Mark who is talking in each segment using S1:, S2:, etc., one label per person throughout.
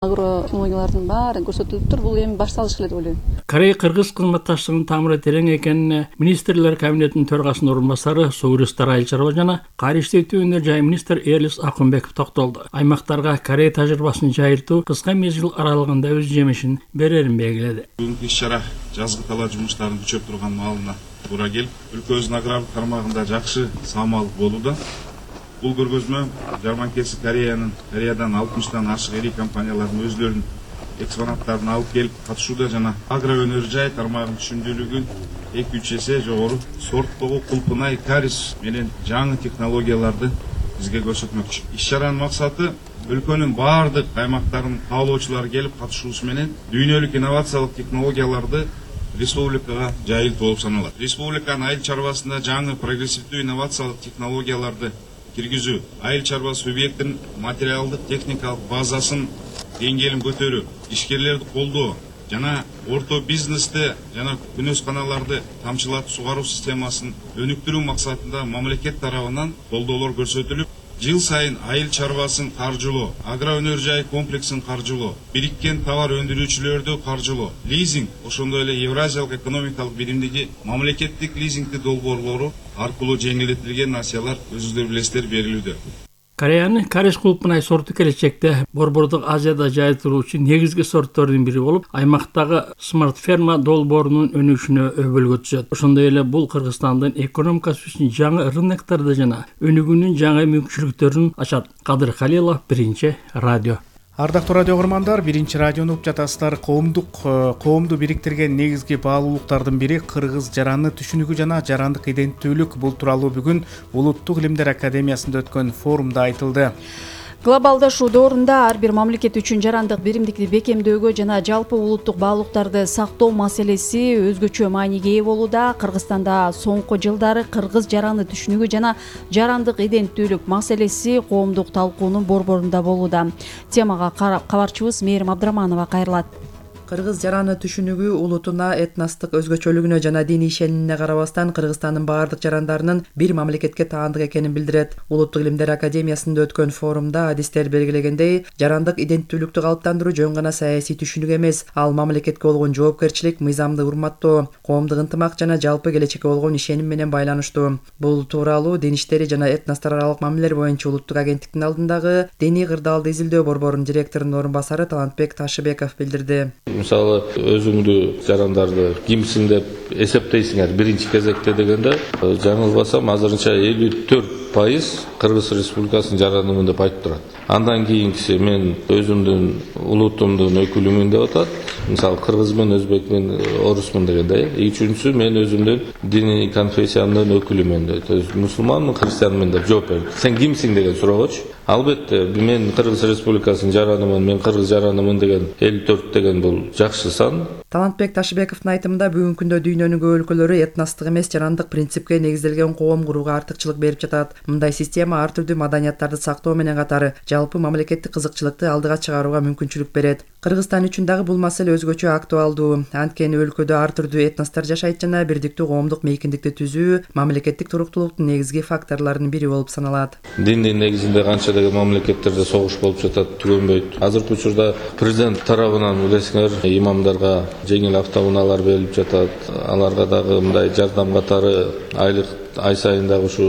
S1: Агрологиялардын баары көрсөтүлүптүр. Бул эми башталыш эле деп ойлойм.
S2: Корей-Кыргыз кызматташтыгынын тамыры терең экенин министрлер кабинетинин төрагасынын орун басары Сууристар Айыл чарба жана кар иштетүүнү жай министр Элис Акунбеков токтолду. Аймактарга Корей тажрыйбасын жайылтуу кыска мезгил аралыгында өз жемишин берерин белгиледи.
S3: Бүгүнкү иш-чара жазгы талаа жумуштарын күчөп турган маалына туура келип, өлкөбүздүн агрардык тармагында жакшы саамалык болууда. Бул көргөзмө жарманкеси Кореядан 60тан ашык ири компаниялардын өздөрүнүн экспонаттарын алып келип катышууда жана агро өнөр жай тармагынын түшүндүүлүгүн 2-3 эсе жогору сорттогу кулпунай карис менен жаңы технологияларды бизге көрсөтмөкчү. Иш-чаранын максаты өлкөнүн баардык аймактарынын каалоочулары келип катышуусу менен дүйнөлүк инновациялык технологияларды республикага жайылтуу болуп саналат. Республиканын айыл чарбасында жаңы прогрессивдүү инновациялык технологияларды киргизүү, айыл чарба субъектинин материалдык техникалык базасын деңгээлин көтөрүү, ишкерлерди колдоо жана орто бизнесте жана күнөсканаларды тамчылатып сугаруу системасын өнүктүрүү максатында мамлекет тарабынан колдоолор көрсөтүлүп, жыл сайын айыл чарбасын каржылоо, агро өнөр жай комплексин каржылоо, бириккен товар өндүрүүчүлөрдү каржылоо, лизинг, ошондой эле Евразиялык экономикалык биримдиги мамлекеттик лизингдик долбоорлору аркылуу жеңилдетилген насыялар өзүңүздөр билесиздер берилүүдө.
S2: Кореянын карис кулпунай сорту келечекте Борбордук Азияда жайылтылуучу негизги сорттордун бири болуп, аймактагы смарт ферма долбоорунун өнүгүшүнө өбөлгө түзөт. Ошондой эле бул Кыргызстандын экономикасы үчүн жаңы рыноктарды жана өнүгүүнүн жаңы мүмкүнчүлүктөрүн ачат. Кадыр Халилов, Биринчи радио.
S4: Ардактуу радио угармандар, Биринчи радиону угуп жатасыздар. Коомду бириктирген негизги баалуулуктардын бири кыргыз жараны түшүнүгү жана жарандык иденттүүлүк. Бул тууралуу бүгүн Улуттук илимдер академиясында өткөн форумда айтылды.
S1: Глобалдашуу доорунда ар бир мамлекет үчүн жарандык биримдикти бекемдөөгө жана жалпы улуттук баалуулуктарды сактоо маселеси өзгөчө мааниге ээ болууда. Кыргызстанда соңку жылдары кыргыз жараны түшүнүгү жана жарандык иденттүүлүк маселеси коомдук талкуунун борборунда болууда. Темага кабарчыбыз Мээрим Абдыраманова кайрылат.
S5: Кыргыз жараны түшүнүгү улутуна, этностук өзгөчөлүгүнө жана диний ишенимине карабастан Кыргызстандын баардык жарандарынын бир мамлекетке таандык экенин билдирет. Улуттук илимдер академиясында өткөн форумда адистер белгилегендей, жарандык иденттүүлүктү калыптандыруу жөн гана саясий түшүнүк эмес, ал мамлекетке болгон жоопкерчилик, мыйзамды урматтоо, коомдук ынтымак жана жалпы келечекке болгон ишеним менен байланыштуу. Бул тууралуу Дин иштери жана этностор аралык мамилелер боюнча улуттук агенттиктин алдындагы диний кырдаалды изилдөө борборунун директорунун орун басары Талантбек Ташыбеков билдирди.
S6: Мисалы, өзүңдү жарандарды кимсиң деп эсептейсиңер биринчи кезекте дегенде, жаңылбасам азырынча 54% Кыргыз Республикасынын жаранымын деп айтып турат. Андан кийинкиси мен өзүмдүн улутумдун өкүлүмүн деп атат. Мисалы, кыргызмын, өзбекмин, орусмун дегенде. Үчүнчүсү мен өзүмдүн диний конфессиямдын өкүлүмүн деп, то есть мусулманмын, христианмын деп жооп берди. Сен кимсиң деген суроогочу. Албетте, мен Кыргыз Республикасынын жаранымын, мен кыргыз жаранымын деген 54 деген бул жакшы сан.
S5: Талантбек Ташыбековдун айтымында бүгүнкү күндө дүйнөнүн көп өлкөлөрү этностук эмес жарандык принципке негизделген коом курууга артыкчылык берип жатат. Мындай система ар түрдүү маданияттарды сактоо менен катары жалпы мамлекеттик кызыкчылыкты алдыга чыгарууга мүмкүнчүлүк берет. Кыргызстан үчүн дагы бул маселе өзгөчө актуалдуу. Анткени өлкөдө ар түрдүү этностор жашайт жана бирдиктүү коомдук мейкиндикти түзүү мамлекеттик туруктуулуктун негизги факторлорунун бири болуп саналат.
S6: Диндин негизинде канча деген мамлекеттерде согуш болуп жатат, түгөнбөйт. Азыркы учурда президент тарабынан билесиңер, имамдарга жеңил автоунаалар берилип жатат. Аларга дагы мындай жардам катары ай сайын дагы ушу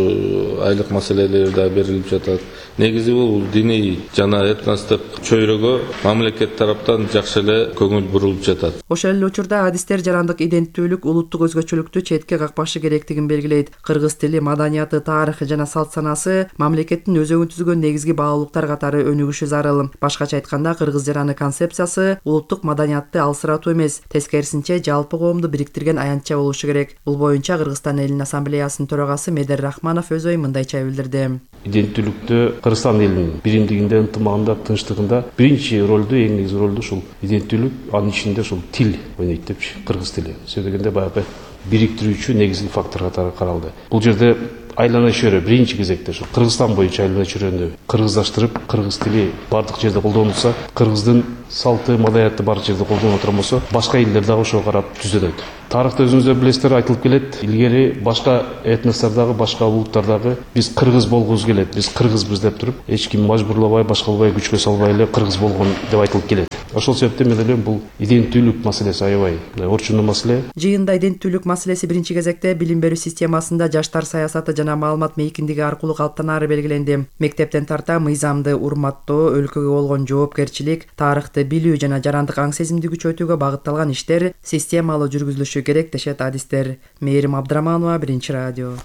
S6: айлык маселелери да берилип жатат. Негизи бул диний жана этностук чөйрөгө мамлекет тараптан жакшы эле көңүл бурулуп жатат.
S5: Ошол эле учурда адистер жарандык иденттүүлүк, улуттук өзгөчөлүктү четке какпашы керектигин белгилейт. Кыргыз тили, маданияты, тарыхы жана салт санасы мамлекеттин өзөгүн түзгөн негизги баалуулуктар катары өнүгүшү зарыл. Башкача айтканда, кыргыз жараны концепциясы улуттук маданиятты алсыратуу эмес, тескерисинче жалпы коомду бириктирген аянтча болушу керек. Бул боюнча Кыргызстан элинин ассамблеясынын төрагасы Медер Рахманов өз оюн мындайча билдирди.
S7: Иденттүүлүктө Кыргызстан элинин биримдигинде, ынтымагында, тынчтыгында биринчи ролду, эң негизги ролду ушул иденттүүлүк, анын ичинде ушул тил ойнойт депчи, кыргыз тили. Сөзү дегенде баягы бириктирүүчү негизги фактор катары каралды. Бул жерде айлана чөйрө биринчи кезекте ушу Кыргызстан боюнча айлана чөйрөнү кыргыздаштырып, кыргыз тили бардык жерде колдонулса, кыргыздын салты, маданияты бардык жерде колдонуп отурган болсо, башка элдер дагы ошого карап түзөлөт. Тарыхта өзүңүздөр билесиздер, айтылып келет, илгери башка этностордагы, башка улуттардагы биз кыргыз болгубуз келет, биз кыргызбыз деп туруп, эч ким мажбурлабай, башкалабай, күчкө салбай эле кыргыз болгон деп айтылып келет. Ошол себептен мен ойлойм, бул иденттүүлүк маселеси аябай орчундуу маселе.
S5: Жыйында иденттүүлүк маселеси биринчи кезекте билим берүү системасында жаштар саясаты жана маалымат мейкиндиги аркылуу калыптанаары белгиленди. Мектептен тарта мыйзамды урматтоо, өлкөгө болгон жоопкерчилик, тарыхты билүү жана жарандык аң сезимди күчөтүүгө багытталган иштер системалуу жүргүзүлүшү керек дешет адистер. Мээрим Абдраманова, Биринчи радио.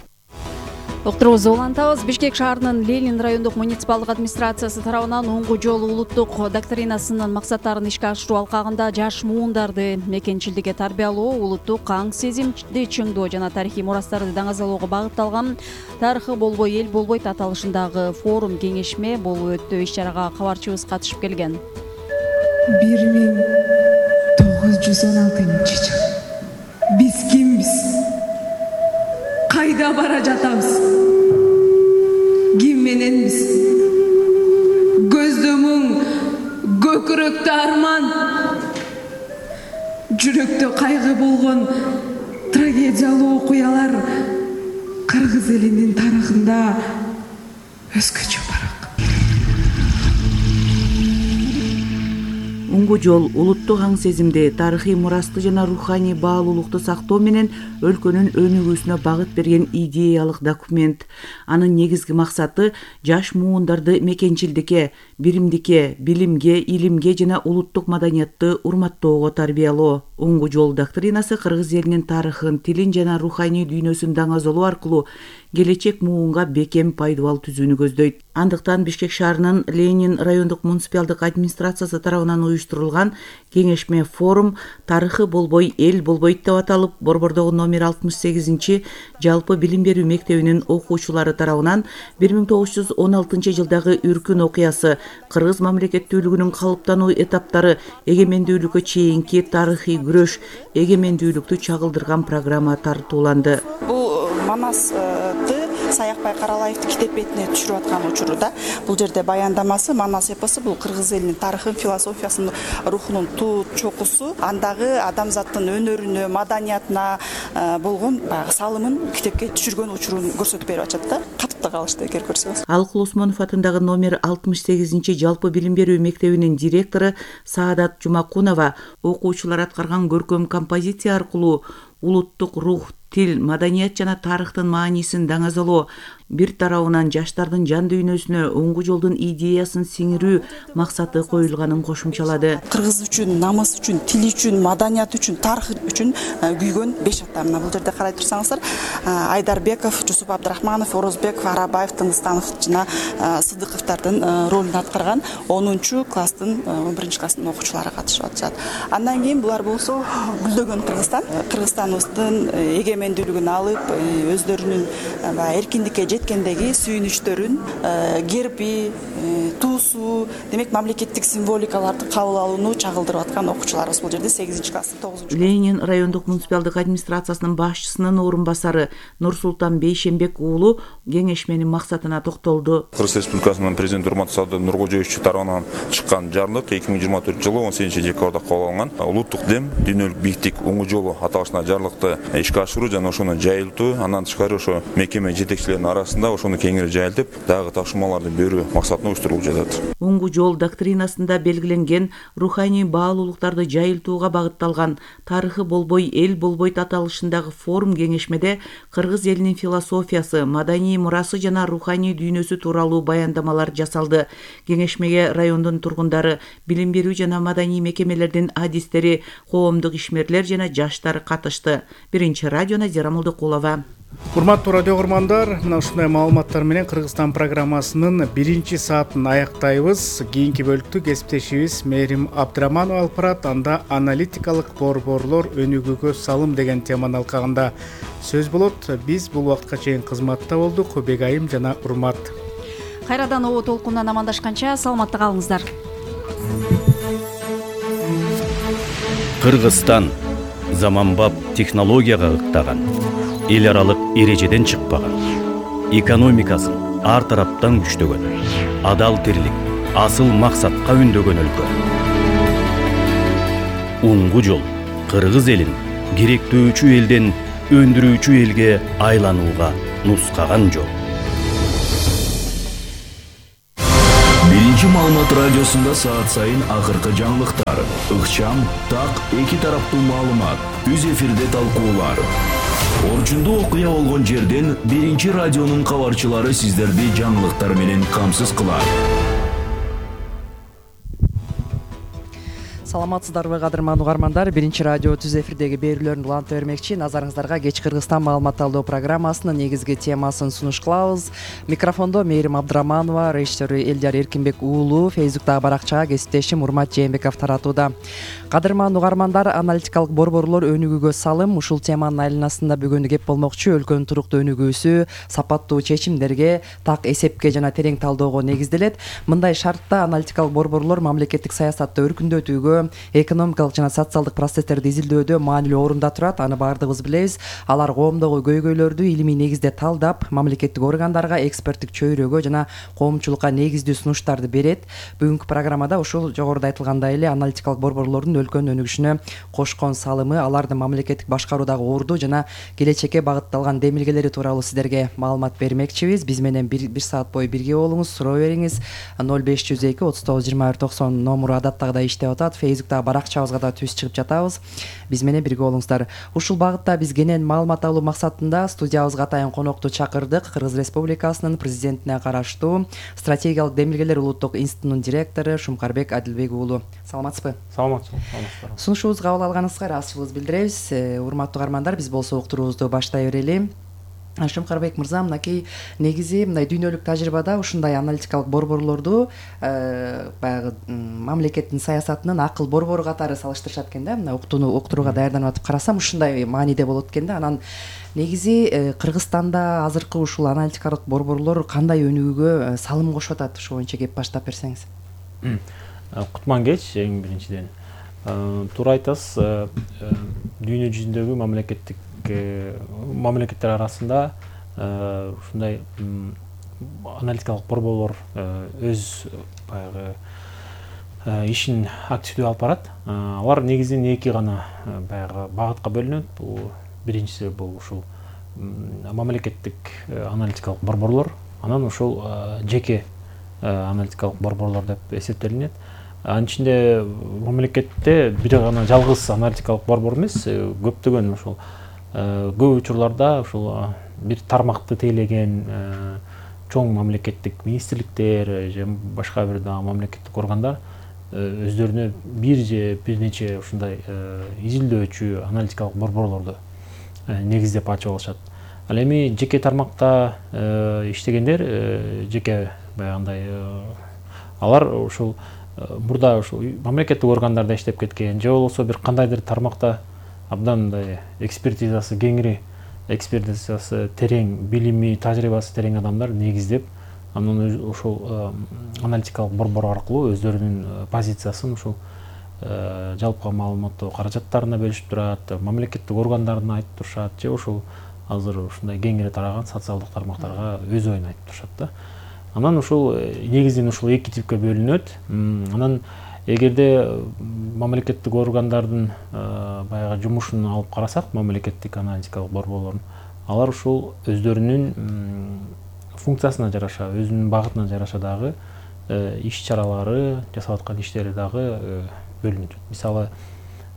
S1: Уктурубузду улантабыз. Бишкек шаарынын Ленин райондук муниципалдык администрациясы тарабынан оңгу жол улуттук доктринасынын максаттарын ишке ашыруу алкагында жаш муундарды мекенчилдикке тарбиялоо, улуттук аң сезимди чыңдоо жана тарыхый мурастарды даңазалоого багытталган тарыхы болбой эл болбойт аталышындагы форум кеңешме болуп өттү. Иш-чарага кабарчыбыз катышып келген.
S8: 1916 жыл. Биз кимбиз? Кайда бара жатабыз? Ким мененбиз? Көздө мұң, көкүрөктө арман, жүрөктө кайгы болгон трагедиялуу окуялар кыргыз элинин тарыхында өзгөчө барак.
S9: Оңгу жол улуттук аң сезимди, тарыхый мурасты жана руханий баалуулукту сактоо менен өлкөнүн өнүгүүсүнө багыт берген идеялык документ. Анын негизги максаты жаш муундарды мекенчилдикке, биримдикке, билимге, илимге жана улуттук маданиятты урматтоого тарбиялоо. Оңгу жол доктринасы кыргыз элинин тарыхын, тилин жана руханий дүйнөсүн даңазалоо аркылуу келечек муунга бекем пайдабал түзүүнү көздөйт. Андыктан Бишкек шаарынын Ленин райондук муниципалдык администрациясы тарабынан уюштурулган кеңешме форум тарыхы болбой эл болбойт деп аталып, Борбордогу номер 68 жалпы билим берүү мектебинин окуучулары тарабынан 1916 жылдагы Үркүн окуясы, кыргыз мамлекеттүүлүгүнүн калыптануу этаптары, эгемендүүлүккө чейинки тарыхый күрөш, эгемендүүлүктү чагылдырган программа тартууланды.
S10: Бул Манасты Саякбай Каралаевди китеп бетине түшүрүп аткан учурда бул жерде баяндамасы Манас эпосу бул кыргыз элинин тарыхын, философиясынын, рухунун туу чокусу, андагы адамзаттын өнөрүнө, маданиятына болгон салымын китепке түшүргөн учурун көрсөтүп берип атат да. Катып да калышты эгер көрсөңүз.
S9: Алкул Осмонов атындагы номер 68 жалпы билим берүү мектебинин директору Саадат Жумакунова окуучулар аткарган көркөм композиция аркылуу улуттук рух, тил, маданият жана тарыхтын маанисин даңазалоо, бир тарабынан жаштардын жан дүйнөсүнө оңгу жолдун идеясын сиңирүү максаты коюлганын кошумчалады.
S10: Кыргыз үчүн, намыс үчүн, тил үчүн, маданият үчүн, тарых үчүн күйгөн 5 ата. Мына бул жерде карай турсаңыздар, Айдарбеков, Жусуп Абдрахманов, Орозбеков, Арабаев, Тыңгыстанов жана Сыдыковдардын ролун аткарган 10 класстын 11 класстын окуучулары катышып атышат. Андан кийин булар болсо гүлдөгөн Кыргызстаныбыздын эгемендүүлүгүн алып, өздөрүнүн эркиндикке жеткендеги сүйүнүчтөрүн, герби, туусу, демек мамлекеттик символикаларды кабыл алууну чагылдырып аткан окуучуларыбыз бул жерде 8 класстын 9.
S9: Ленин райондук муниципалдык администрациясынын башчысынын орун басары Нурсултан Бейшембек уулу кеңешменин максатына токтолду.
S11: Кыргыз Республикасынын президенти Урматтуу Садыр Нуркожоевич тарабынан чыккан жарлык 2024 жылы 18 декабрда кабыл алынган улуттук дем, дүйнөлүк бийиктик оңгу жолу аталышына жарлыкты ишке ашыруу жана ошону жайылтуу, андан тышкары ошо мекеме жетекчилеринин арасында ошону кеңири жайылтып, дагы тапшырмаларды берүү максатына уюштурулуп жатат.
S9: Оңгу жол доктринасында белгиленген руханий баалуулуктарды жайылтууга багытталган тарыхы болбой эл болбойт аталышындагы форум кеңешмеде кыргыз элинин философиясы, маданий мурасы жана руханий дүйнөсү тууралуу баяндамалар жасалды. Кеңешмеге райондун тургундары, билим берүү жана маданий мекемелердин адистери, коомдук ишмерлер жана жаштар катышты. Биринчи радио Назира Молдокулова.
S4: Урматтуу радио көргөндөр, мына ушундай маалыматтар менен Кыргызстан программасынын 1 саатын аяктайбыз. Кийинки бөлүктү кесиптешибиз Мээрим Абдраманова алып барат. Анда аналитикалык борборлор өнүгүүгө салым деген теманын алкагында сөз болот. Биз бул убакытка чейин кызматта болдук. Бегайым жана Урмат.
S1: Кайрадан обо толкундан амандашканча саламатта калыңыздар.
S12: Кыргызстан заманбап технологияга ыктаган, эл аралык эрежеден чыкпаган, экономикасын ар тараптан күчтөгөн, адал тирлик, асыл максатка үндөгөн өлкө. Уңгу жол кыргыз элин керектөөчү элден өндүрүүчү элге айланууга нускаган жол.
S13: Биринчи маалымат радиосунда саат сайын акыркы жаңылыктар, ыкчам, так, эки тараптуу маалымат, үз эфирде талкуулар. Орчундуу окуя болгон жерден биринчи радионун кабарчылары сиздерди жаңылыктар менен камсыз кылат.
S5: Саламатсыздарбы кадырман угармандар, биринчи радио түз эфирдеги берүүлөрүн уланта бермекчи. Назарыңыздарга кеч Кыргызстан маалымат талдоо программасынын негизги темасын сунуш кылабыз. Микрофондо Мээрим Абдыраманова, режиссеру Элдияр Эркинбек уулу, Фейсбуктагы баракчага кесиптешим Урмат Жээнбеков таратууда. Кадырман угармандар, аналитикалык борборлор өнүгүүгө салым ушул теманын айланасында бүгүн кеп болмокчу. Өлкөнүн туруктуу өнүгүүсү сапаттуу чечимдерге, так эсепке жана терең талоого негизделет. Мындай шартта аналитикалык борборлор мамлекеттик саясатты өркүндөтүүгө, экономикалык жана социалдык процесстерди изилдөөдө маанилүү орунда турат. Аны баардыгыбыз билебиз. Алар коомдогу көйгөйлөрдү илимий негизде талдап, мамлекеттик органдарга, эксперттик чөйрөгө жана коомчулукка негиздүү сунуштарды берет. Бүгүнкү программада ушул жогоруда айтылгандай эле аналитикалык борборлордун өлкөнүн өнүгүшүнө кошкон салымы, алардын мамлекеттик башкаруудагы орду жана келечекке багытталган демилгелери тууралуу сиздерге маалымат бермекчибиз. Биз менен бир саат бою бирге болуңуз, суроо бериңиз. 0502 39 21 90 номуру адаттагыдай иштеп атат. Фейсбуктагы баракчабызга да түз чыгып жатабыз. Биз менен бирге болуңуздар. Ушул багытта биз кенен маалымат алуу максатында студиябызга атайын конокту чакырдык. Кыргыз Республикасынын президентине караштуу стратегиялык демилгелер улуттук институтунун директору Шумкарбек Адилбек уулу. Саламатсызбы?
S14: Саламатсызбы.
S5: Сунушубузду кабыл алганыңызга ыраазычылыгыбызды билдиребиз. Урматтуу угармандар, биз болсо уктуруубузду баштай берели. Шумкарбек мырза, мынакей негизи мындай дүйнөлүк тажрыйбада ушундай аналитикалык борборлорду баягы мамлекеттин саясатынын акыл борбору катары салыштырышат экен да. Мына уктурууга даярданып атып карасам ушундай мааниде болот экен да. Анан негизи Кыргызстанда азыркы ушул аналитикалык борборлор кандай өнүгүүгө салым кошуп атат? Ошол боюнча кеп баштап берсеңиз.
S14: Кутман кеч, эң биринчиден. Туура айтасыз, дүйнө жүзүндөгү мамлекеттер арасында ушундай аналитикалык борборлор өз баягы ишин активдүү алып барат. Алар негизинен эки гана баягы багытка бөлүнөт. Бул биринчиси бул ушул мамлекеттик аналитикалык борборлор, анан ушул жеке аналитикалык борборлор деп эсептелинет. Анын ичинде мамлекетте бир гана жалгыз аналитикалык борбор эмес, көптөгөн ушул көп учурларда ушул бир тармакты тейлеген чоң мамлекеттик министрликтер же башка бир мамлекеттик органдар өздөрүнө бир же бир нече ушундай изилдөөчү аналитикалык борборлорду негиздеп ачып алышат. Ал эми жеке тармакта иштегендер, жеке баягындай алар ушул мурда ушул мамлекеттик органдарда иштеп кеткен же болбосо бир кандайдыр тармакта абдан мындай экспертизасы кеңири, экспертизасы терең, билими, тажрыйбасы терең адамдар негиздеп, анан ушул аналитикалык борбор аркылуу өздөрүнүн позициясын ушул жалпы маалыматтоо каражаттарына бөлүшүп турат, мамлекеттик органдарына айтып турушат, же ушул азыр ушундай кеңири тараган социалдык тармактарга өз оюн айтып турушат да. Анан ушул негизинен ушул эки типке бөлүнөт. Анан эгерде мамлекеттик органдардын баягы жумушун алып карасак, мамлекеттик аналитикалык борборлордун, алар ушул өздөрүнүн функциясына жараша, өзүнүн багытына жараша дагы иш-чаралары, жасап аткан иштери дагы бөлүнүп. Мисалы,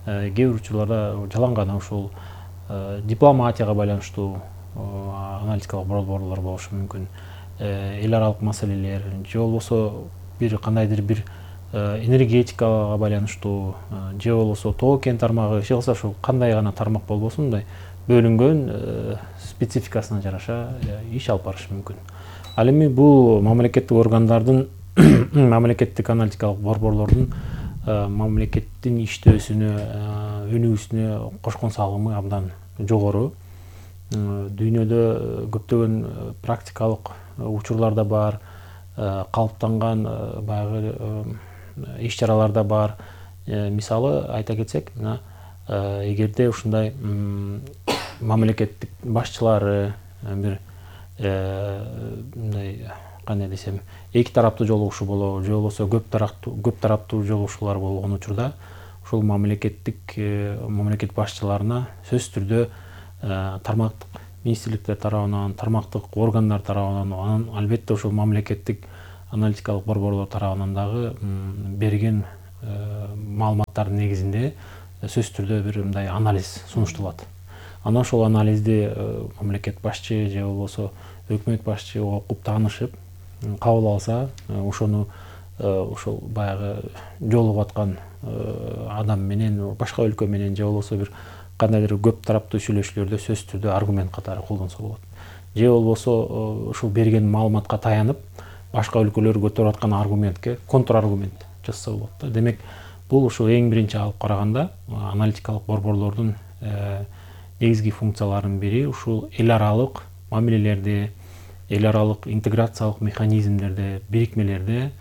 S14: кээ бир учурларда жалаң гана ушул дипломатияга байланыштуу аналитикалык борборлор болушу мүмкүн. Эл аралык маселелер, же болбосо бир кандайдыр бир энергетикага байланыштуу, же болбосо тоо-кен тармагы, же болбосо ушул кандай гана тармак болбосун, мындай бөлүнгөн спецификасына жараша иш алып барышы мүмкүн. Ал эми бул мамлекеттик органдардын, мамлекеттик аналитикалык борборлордун мамлекеттин иштөөсүнө, өнүгүүсүнө кошкон салымы абдан жогору. Дүйнөдө көптөгөн практикалык учурларда бар, калыптанган баягы иш-чараларда бар. Мисалы айта кетсек, эгерде ушундай мамлекеттик башчылары бир мындай кандай десем эки тараптуу жолугушуу болобу же болбосо көп тараптуу жолугушуулар болгон учурда ушул мамлекет башчыларына сөзсүз түрдө тармактык министрликтер тарабынан, тармактык органдар тарабынан, анан албетте ушул мамлекеттик аналитикалык борборлор тарабынан дагы берген маалыматтардын негизинде сөзсүз түрдө бир мындай анализ сунушталат. Анан ошол анализди мамлекет башчы же болбосо өкмөт башчы окуп таанышып кабыл алса, ошону ошол баягы жолугуп аткан адам менен, башка өлкө менен же болбосо бир кандайдыр көп тараптуу сүйлөшүүлөрдө сөзсүз түрдө аргумент катары колдонсо болот. Же болбосо ушул берген маалыматка таянып, башка өлкөлөр көтөрүп аткан аргументке контраргумент жасаса болот да. Демек, бул ушул эң биринчи алып караганда аналитикалык борборлордун негизги функцияларынын бири ушул эл аралык мамилелерде, эл аралык интеграциялык механизмдерде, бирикмелерде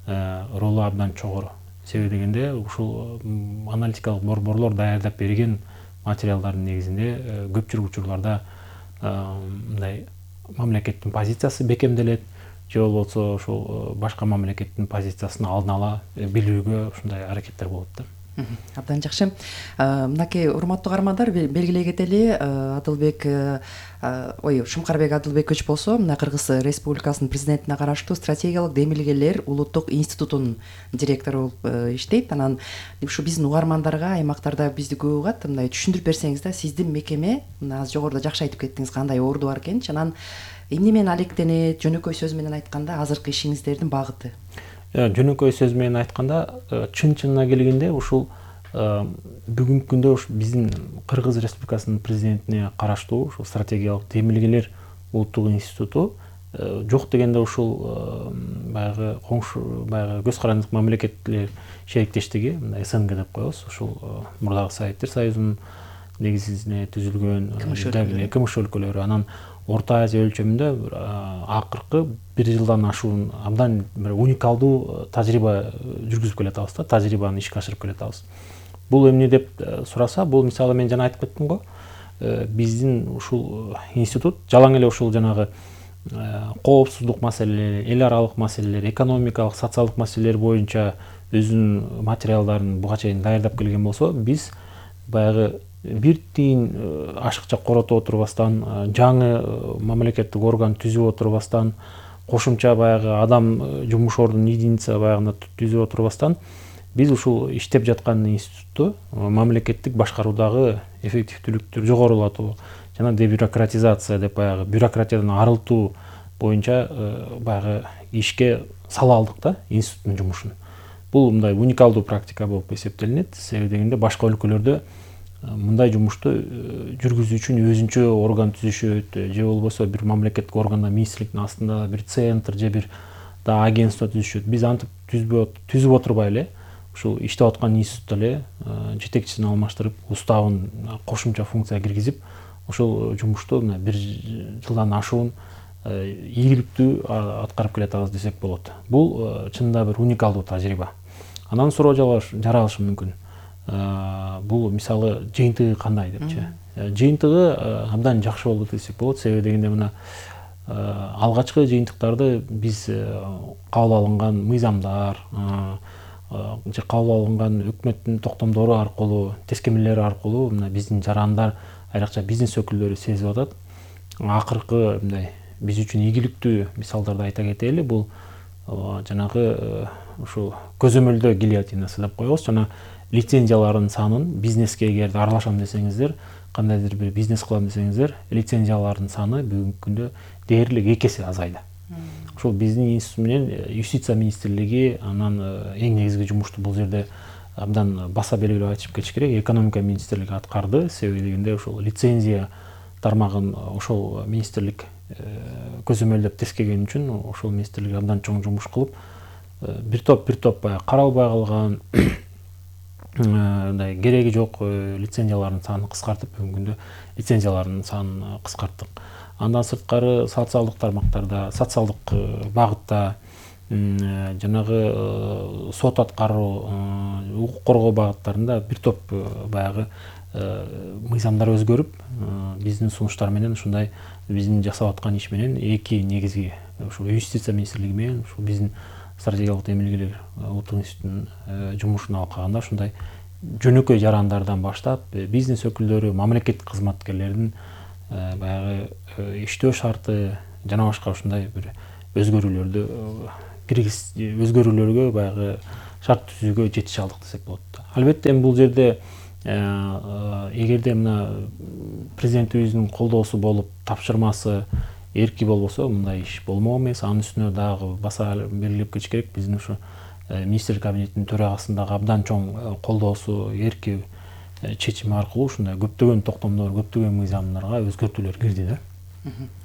S14: ролу абдан чогору. Себеби дегенде ушул аналитикалык борборлор даярдап берген материалдардын негизинде көпчүлүк учурларда мындай мамлекеттин позициясы бекемделет, же болбосо ошол башка мамлекеттин позициясын алдын ала билүүгө ушундай аракеттер болот да.
S5: Абдан жакшы. Мынакей урматтуу каармандар, белгилей кетели, Шумкарбек Адылбекович болсо, мына Кыргыз Республикасынын президентине караштуу стратегиялык демилгелер улуттук институтунун директору болуп иштейт. Анан ушу биздин угармандарга аймактарда бизди көп угат, мындай түшүндүрүп берсеңиз да, сиздин мекеме, мына аз жогоруда жакшы айтып кеттиңиз, кандай орду бар экенчи, анан эмне менен алектенет, жөнөкөй сөз менен айтканда азыркы ишиңиздердин багыты?
S14: Жөнөкөй сөз менен айтканда, чын-чынына келгенде ушул бүгүнкү күндө биздин Кыргыз Республикасынын президентине караштуу ушул стратегиялык демилгелер улуттук институту жок дегенде ушул баягы коңшу, баягы көз карандык мамлекеттер шериктештиги, мындай СНГ деп коебуз, ушул мурдагы Советтер Союзунун негизине түзүлгөн КМШ өлкөлөрү, анан Орто Азия өлчөмүндө акыркы 1 жылдан ашуун абдан бир уникалдуу тажрыйба жүргүзүп келатабыз да, тажрыйбаны ишке ашырып келатабыз. Бул эмне деп сураса, бул мисалы мен жана айтып кеттим го, биздин ушул институт жалаң эле ушул жанагы коопсуздук маселелери, эл аралык маселелер, экономикалык, социалдык маселелер боюнча өзүнүн материалдарын буга чейин даярдап келген болсо, биз баягы бир тиын ашыкча корото отурбастан, жаңы мамлекеттик орган түзүп отурбастан, кошумча баягы адам жумуш ордунун единица баягында түзүп отурбастан, биз ушул иштеп жаткан институтту мамлекеттик башкаруудагы эффективдүүлүктү жогорулатуу жана дебюрократизация деп баягы бюрократиядан арылтуу боюнча баягы ишке сала алдык да институттун жумушун. Бул мындай уникалдуу практика болуп эсептелинет. Себеби дегенде башка өлкөлөрдө мындай жумушту жүргүзүү үчүн өзүнчө орган түзүшөт, же болбосо бир мамлекеттик органда министрликтин астында бир центр же бир да агентство түзүшөт. Биз антип түзүп отурбай эле ушул иштеп аткан институтта эле жетекчисин алмаштырып, уставын кошумча функция киргизип, ушул жумушту мына 1 жылдан ашуун ийгиликтүү аткарып келатабыз десек болот. Бул чынында бир уникалдуу тажрыйба. Анан суроо жаралышы мүмкүн. Бул мисалы жыйынтыгы кандай депчи. Жыйынтыгы абдан жакшы болду десек болот. Себеби дегенде мына алгачкы жыйынтыктарды биз кабыл алынган мыйзамдар же кабыл алынган өкмөттүн токтомдору аркылуу, тескемелери аркылуу мына биздин жарандар, айрыкча бизнес өкүлдөрү сезип атат. Акыркы мындай биз үчүн ийгиликтүү мисалдарды айта кетели. Бул жанагы ушул көзөмөлдөө гильотинасы деп коебуз. Жана лицензиялардын санын бизнеске эгерде аралашам десеңиздер, кандайдыр бир бизнес кылам десеңиздер, лицензиялардын саны бүгүнкү күндө дээрлик 2 эсе азайды. Ушул биздин институт менен юстиция министрлиги анан эң негизги жумушту бул жерде абдан баса белгилеп айтып кетиш керек, экономика министрлиги аткарды. Себеби дегенде ушул лицензия тармагын ошол министрлик көзөмөлдөп тескеген үчүн ошол министрлик абдан чоң жумуш кылып, бир топ баягы каралбай калган мындай кереги жок лицензиялардын санын кыскартып, бүгүнкү күндө лицензиялардын санын кыскарттык. Андан сырткары социалдык тармактарда, социалдык багытта жанагы сот аткаруу, укук коргоо багыттарында бир топ баягы мыйзамдар өзгөрүп, биздин сунуштар менен ушундай биздин жасап аткан иш менен эки негизги ушул юстиция министрлиги менен ушул биздин стратегиялык демилгелер улуттук институтунун жумушун алкаганда ушундай жөнөкөй жарандардан баштап бизнес өкүлдөрү, мамлекеттик кызматкерлердин баягы иштөө шарты жана башка ушундай бир өзгөрүүлөргө баягы шарт түзүүгө жетише алдык десек болот. Албетте эми бул жерде эгерде мына президентибиздин колдоосу болуп, тапшырмасы эрки болбосо мындай иш болмок эмес. Анын үстүнө дагы баса белгилеп кетиш керек, биздин ушу министрлер кабинетинин төрагасынын дагы абдан чоң колдоосу, эрки чечими аркылуу ушундай көптөгөн токтомдор, көптөгөн мыйзамдарга өзгөртүүлөр кирди да.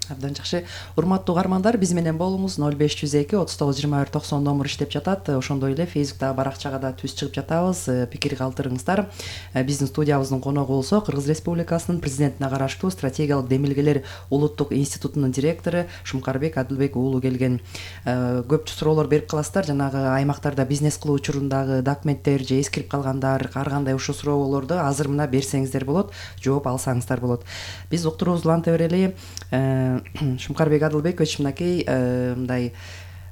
S5: Абдан жакшы. Урматтуу угармандар, биз менен болуңуз. 0502 392190 номер иштеп жатат. Ошондой эле Facebook'та баракчага да түз чыгып жатабыз. Пикир калтырыңыздар. Биздин студиябыздын коногу болсо Кыргыз Республикасынын президентине караштуу стратегиялык демилгелер улуттук институтунун директору Шумкарбек Адылбек уулу келген. Көп суроолор берип каласыздар. Жанагы аймактарда бизнес кылуу учурундагы документтер же эскирип калгандар, ар кандай ушул суроолорду азыр мына берсеңиздер болот, жооп алсаңыздар болот. Биз уктуруубузду уланта берели. Шумкарбек Адылбекович, мынакей мындай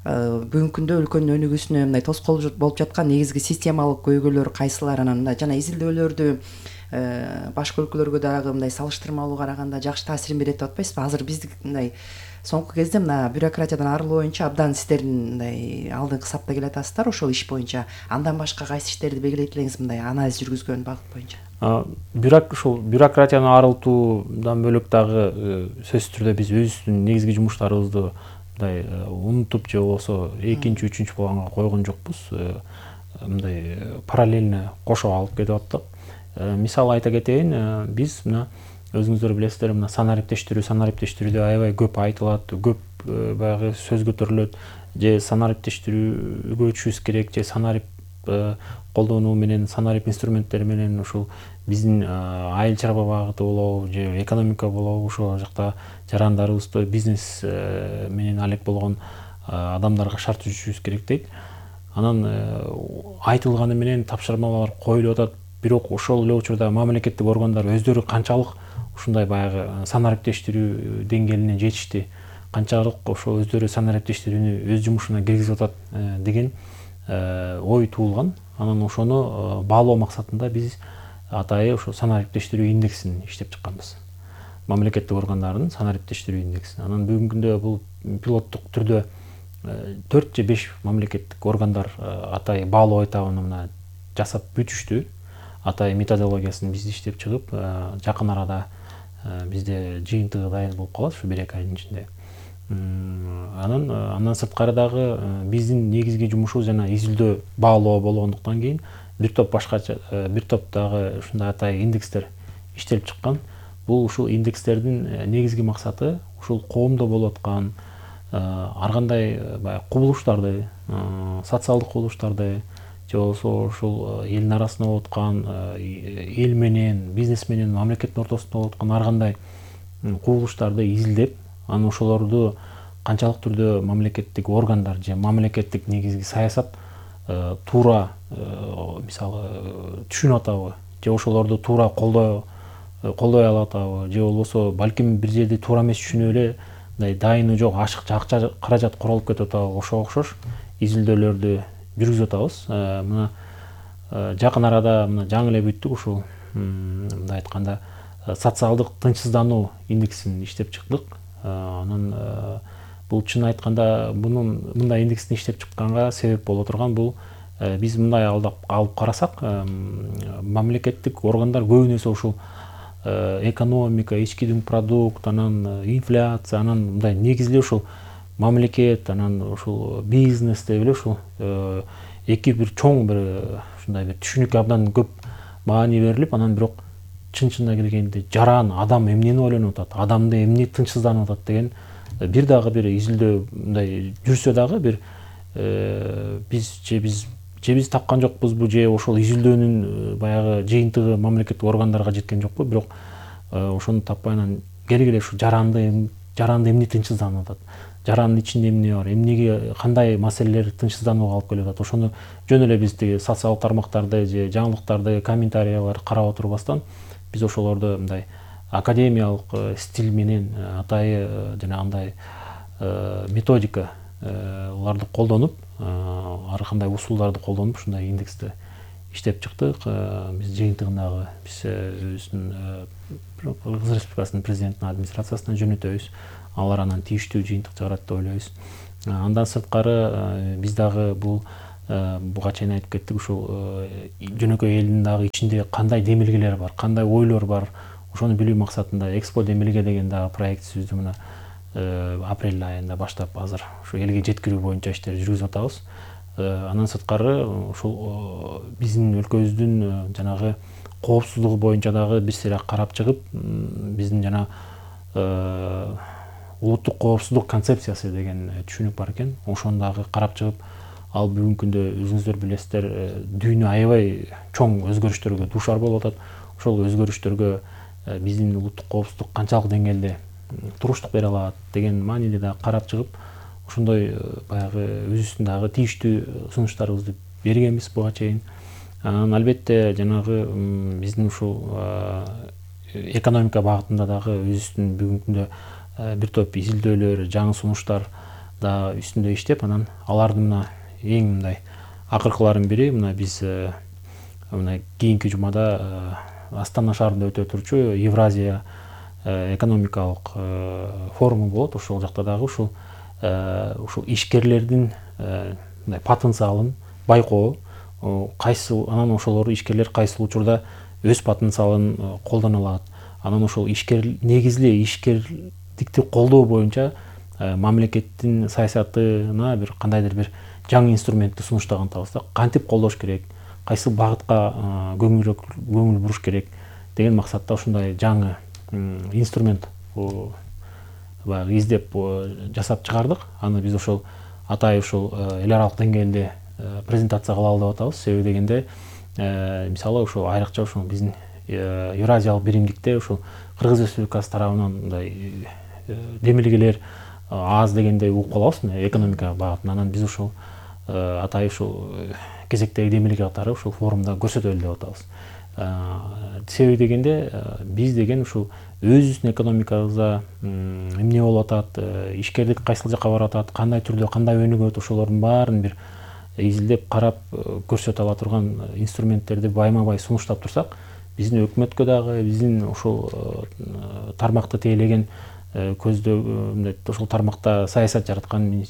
S5: бүгүнкү күндө өлкөнүн өнүгүүсүнө мындай тоскоол болуп жаткан негизги системалык көйгөйлөр кайсылар, анан мындай жана изилдөөлөрдү башка өлкөлөргө дагы мындай салыштырмалуу караганда жакшы таасирин берет деп атпайсызбы? Азыр биздик мындай соңку кезде мына бюрократиядан арылуу боюнча абдан сиздердин мындай алдыңкы сапта келатасыздар ошол иш боюнча. Андан башка кайсы иштерди белгилейт элеңиз мындай анализ жүргүзгөн багыт боюнча?
S14: Ушул бюрократияны арылтуудан бөлөк дагы сөзсүз түрдө биз өзүбүздүн негизги жумуштарыбызды мындай унутуп же болбосо экинчи, үчүнчү планга койгон жокпуз. Мындай параллельно кошо алып кетип аттык. Мисал айта кетейин, биз мына өзүңүздөр билесиздер, мына санариптештирүүдө аябай көп айтылат, көп баягы сөз көтөрүлөт, же санариптештирүүгө өтүшүбүз керек, же санарип колдонуу менен, санарип инструменттери менен ушул биздин айыл чарба багыты болобу, же экономика болобу, ошол жакта жарандарыбызды бизнес менен алек болгон адамдарга шарт түзүшүбүз керек дейт. Анан айтылганы менен тапшырмалар коюлуп атат, бирок ошол эле учурда мамлекеттик органдар өздөрү канчалык ушундай баягы санариптештирүү деңгээлине жетишти, канчалык ошол өздөрү санариптештирүүнү өз жумушуна киргизип атат деген ой туулган. Анан ошону баалоо максатында биз атайы ошо санариптештирүү индексин иштеп чыкканбыз. Мамлекеттик органдардын санариптештирүү индексин. Анан бүгүнкү күндө бул пилоттук түрдө 4 же 5 мамлекеттик органдар атайы баалоо этабын мына жасап бүтүштү. Атайы методологиясын биз иштеп чыгып, жакын арада бизде жыйынтыгы дайын болуп калат ушу 1-2 айдын ичинде. Андан сырткары дагы биздин негизги жумушубуз жана изилдөө, баалоо болгондуктан кийин бир топ дагы ушундай атайы индекстер иштелип чыккан. Бул ушул индекстердин негизги максаты ушул коомдо болуп аткан ар кандай кубулуштарды, социалдык кубулуштарды, же болбосо ушул элдин арасында болуп аткан эл менен, бизнес менен, мамлекеттин ортосунда болуп аткан ар кандай кубулуштарды изилдеп, анан ошолорду канчалык түрдө мамлекеттик органдар же мамлекеттик негизги саясат туура мисалы түшүнүп атабы, же ошолорду туура колдой алып атабы, же болбосо балким бир жерде туура эмес түшүнүп эле мындай дайыны жок ашыкча акча каражат королуп кетип атабы, ошого окшош изилдөөлөрдү жүргүзүп атабыз. Мына жакын арада мына жаңы эле бүттүк ушул мындай айтканда социалдык тынчсыздануу индексин иштеп чыктык. Анан бул чын айтканда мындай индексин иштеп чыкканга себеп боло турган бул биз мындай алып карасак, мамлекеттик органдар көбүнесе ушул экономика, ички дүң продукт, анан инфляция, анан мындай негизги ушул мамлекет, анан ушул бизнес деп эле ушул эки бир чоң бир ушундай бир түшүнүккө абдан көп маани берилип, анан бирок чын-чынына келгенде жаран адам эмнени ойлонуп атат, адамды эмне тынчсызданып атат деген бир дагы бир изилдөө мындай жүрсө дагы бир биз тапкан жокпузбу, же ошол изилдөөнүн баягы жыйынтыгы мамлекеттик органдарга жеткен жокпу, бирок ошону таппай анан келгиле ушу жаранды эмне тынчсызданып атат, жарандын ичинде эмне бар, эмнеге кандай маселелер тынчсызданууга алып келип атат, ошону жөн эле биз тиги социалдык тармактарды же жаңылыктарды, комментарияларды карап отурбастан биз ошолорду мындай академиялык стиль менен атайы жанагындай методикаларды колдонуп, ар кандай усулдарды колдонуп ушундай индексти иштеп чыктык. Биз жыйынтыгындагы биз өзүбүздүн Кыргыз Республикасынын президентинин администрациясына жөнөтөбүз. Алар анан тийиштүү жыйынтык чыгарат деп ойлойбуз. Андан сырткары биз дагы буга чейин айтып кеттик, ушул жөнөкөй элдин дагы ичинде кандай демилгелер бар, кандай ойлор бар, ошону билүү максатында Экспо демилге деген дагы проектибизди мына апрель айында баштап азыр ушу элге жеткирүү боюнча иштерди жүргүзүп атабыз. Андан сырткары ушул биздин өлкөбүздүн жанагы коопсуздугу боюнча дагы бир сыйра карап чыгып, биздин жана улуттук коопсуздук концепциясы деген түшүнүк бар экен. Ошону дагы карап чыгып, ал бүгүнкү күндө өзүңүздөр билесиздер, дүйнө аябай чоң өзгөрүштөргө дуушар болуп атат. Ошол өзгөрүштөргө биздин улуттук коопсуздук канчалык деңгээлде туруштук бере алат деген мааниде да карап чыгып, ошондой баягы өзүбүздүн дагы тийиштүү сунуштарыбызды бергенбиз буга чейин. Анан албетте жанагы биздин ушул экономика багытында дагы өзүбүздүн бүгүнкү күндө бир топ изилдөөлөр, жаңы сунуштар да үстүндө иштеп, анан алардын мына эң мындай акыркыларынын бири мына биз мына кийинки жумада Астана шаарында өтө турчу Евразия экономикалык форуму болот. Ошол жакта дагы ушул ишкерлердин мындай потенциалын байкоо, анан ошолор ишкерлер кайсыл учурда өз потенциалын колдоно алат, анан ошол негизли ишкердикти колдоо боюнча мамлекеттин саясатына бир кандайдыр бир жаңы инструментти сунуштаган атабыз да. Кантип колдош керек, кайсы багытка көңүл буруш керек деген максатта ушундай жаңы инструмент баягы издеп жасап чыгардык. Аны биз ошол атайын ушул эл аралык деңгээлде презентация кылалы деп атабыз. Себеби дегенде мисалы ошол айрыкча ушул биздин Евразиялык биримдикте ушул Кыргыз Республикасы тарабынан мындай демилгелер аз дегенде угуп калабыз экономика багытына. Анан биз ушул атайын ушул кезектеги демилге катары ушул форумда көрсөтөлү деп атабыз. Себеби дегенде биз деген ушул өзүбүздүн экономикабызда эмне болуп атат, ишкерлик кайсыл жакка барып атат, кандай түрдө, кандай өнүгөт, ошолордун баарын бир изилдеп карап көрсөтө ала турган инструменттерди байма-бай сунуштап турсак, биздин өкмөткө дагы, биздин ушул тармакты тейлеген көздөө ошол тармакта саясат жараткан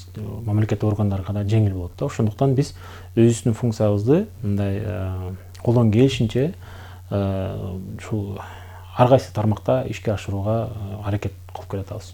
S14: мамлекеттик органдарга да жеңил болот да. Ошондуктан биз өзүбүздүн функциябызды мындай колдон келишинче ушул ар кайсы тармакта ишке ашырууга аракет кылып келатабыз.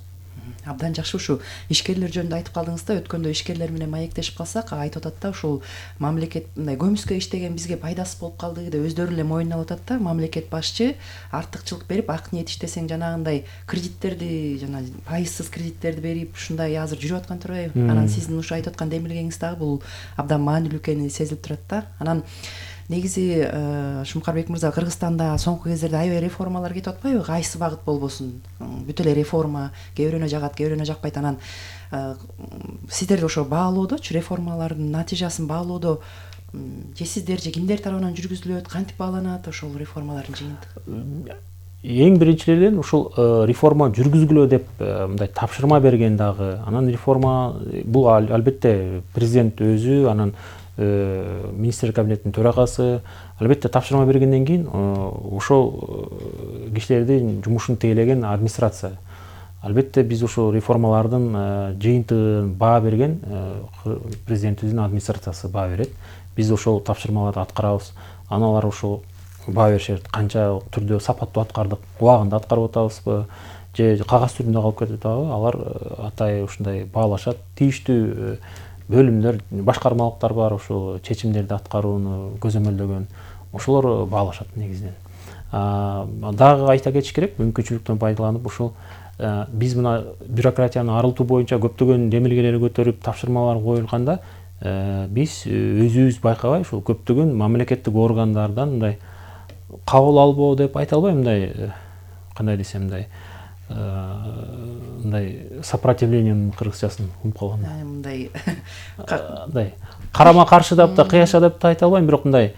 S5: Абдан жакшы. Ушу ишкерлер жөнүндө айтып калдыңыз да, өткөндө ишкерлер менен маектешип калсак, айтып атат да, ушул мамлекет мындай көмүскө иштеген бизге пайдасыз болуп калды деп өздөрү эле моюнап атат да. Мамлекет башчы артыкчылык берип, ак ниет иштесең жанагындай кредиттерди, жана пайызсыз кредиттерди берип, ушундай азыр жүрүп аткан турбайбы? Анан сиздин ушу айтып аткан демилгеңиз дагы бул абдан маанилүү экени сезилип турат да. Анан негизи Шумкарбек мырза, Кыргызстанда соңку кездерде аябай реформалар кетип атпайбы? Кайсы багыт болбосун, бүт эле реформа, кээ бирөөнө жагат, кээ бирөөнө жакпайт. Анан сиздер ошо баалоодочу, реформалардын натыйжасын баалоодо же сиздер же кимдер тарабынан жүргүзүлөт, кантип бааланат ошол реформалардын жыйынтыгы?
S14: Эң биринчилерден ушул реформа жүргүзгүлө деп мындай тапшырма берген дагы. Анан реформа бул албетте президент өзү, анан министрлер кабинетинин төрагасы албетте тапшырма бергенден кийин ошол кишилердин жумушун тейлеген администрация. Албетте биз ошол реформалардын жыйынтыгын баа берген президентибиздин администрациясы баа берет. Биз ошол тапшырмаларды аткарабыз. Анан алар ошол баа беришет. Канча түрдө сапаттуу аткардык, убагында аткарып атабызбы, же кагаз түрүндө калып кетип атабы? Алар атайын ушундай баалашат. Тийиштүү бөлүмдөр, башкармалыктар бар, ошол чечимдерди аткарууну көзөмөлдөгөн, ошолор баалашат негизинен. Дагы айта кетиш керек, мүмкүнчүлүктөн пайдаланып ушул биз мына бюрократияны арылтуу боюнча көптөгөн демилгелер көтөрүп, тапшырмалар коюлганда, биз өзүбүз байкабай ушул көптөгөн мамлекеттик органдардан мындай кабыл албоо деп айта албайм, мындай кандай десем, мындай мындай сопротивлениянын кыргызчасын угуп калган.
S5: Мындай
S14: карама каршы деп да кыяша деп да айта албайм, бирок мындай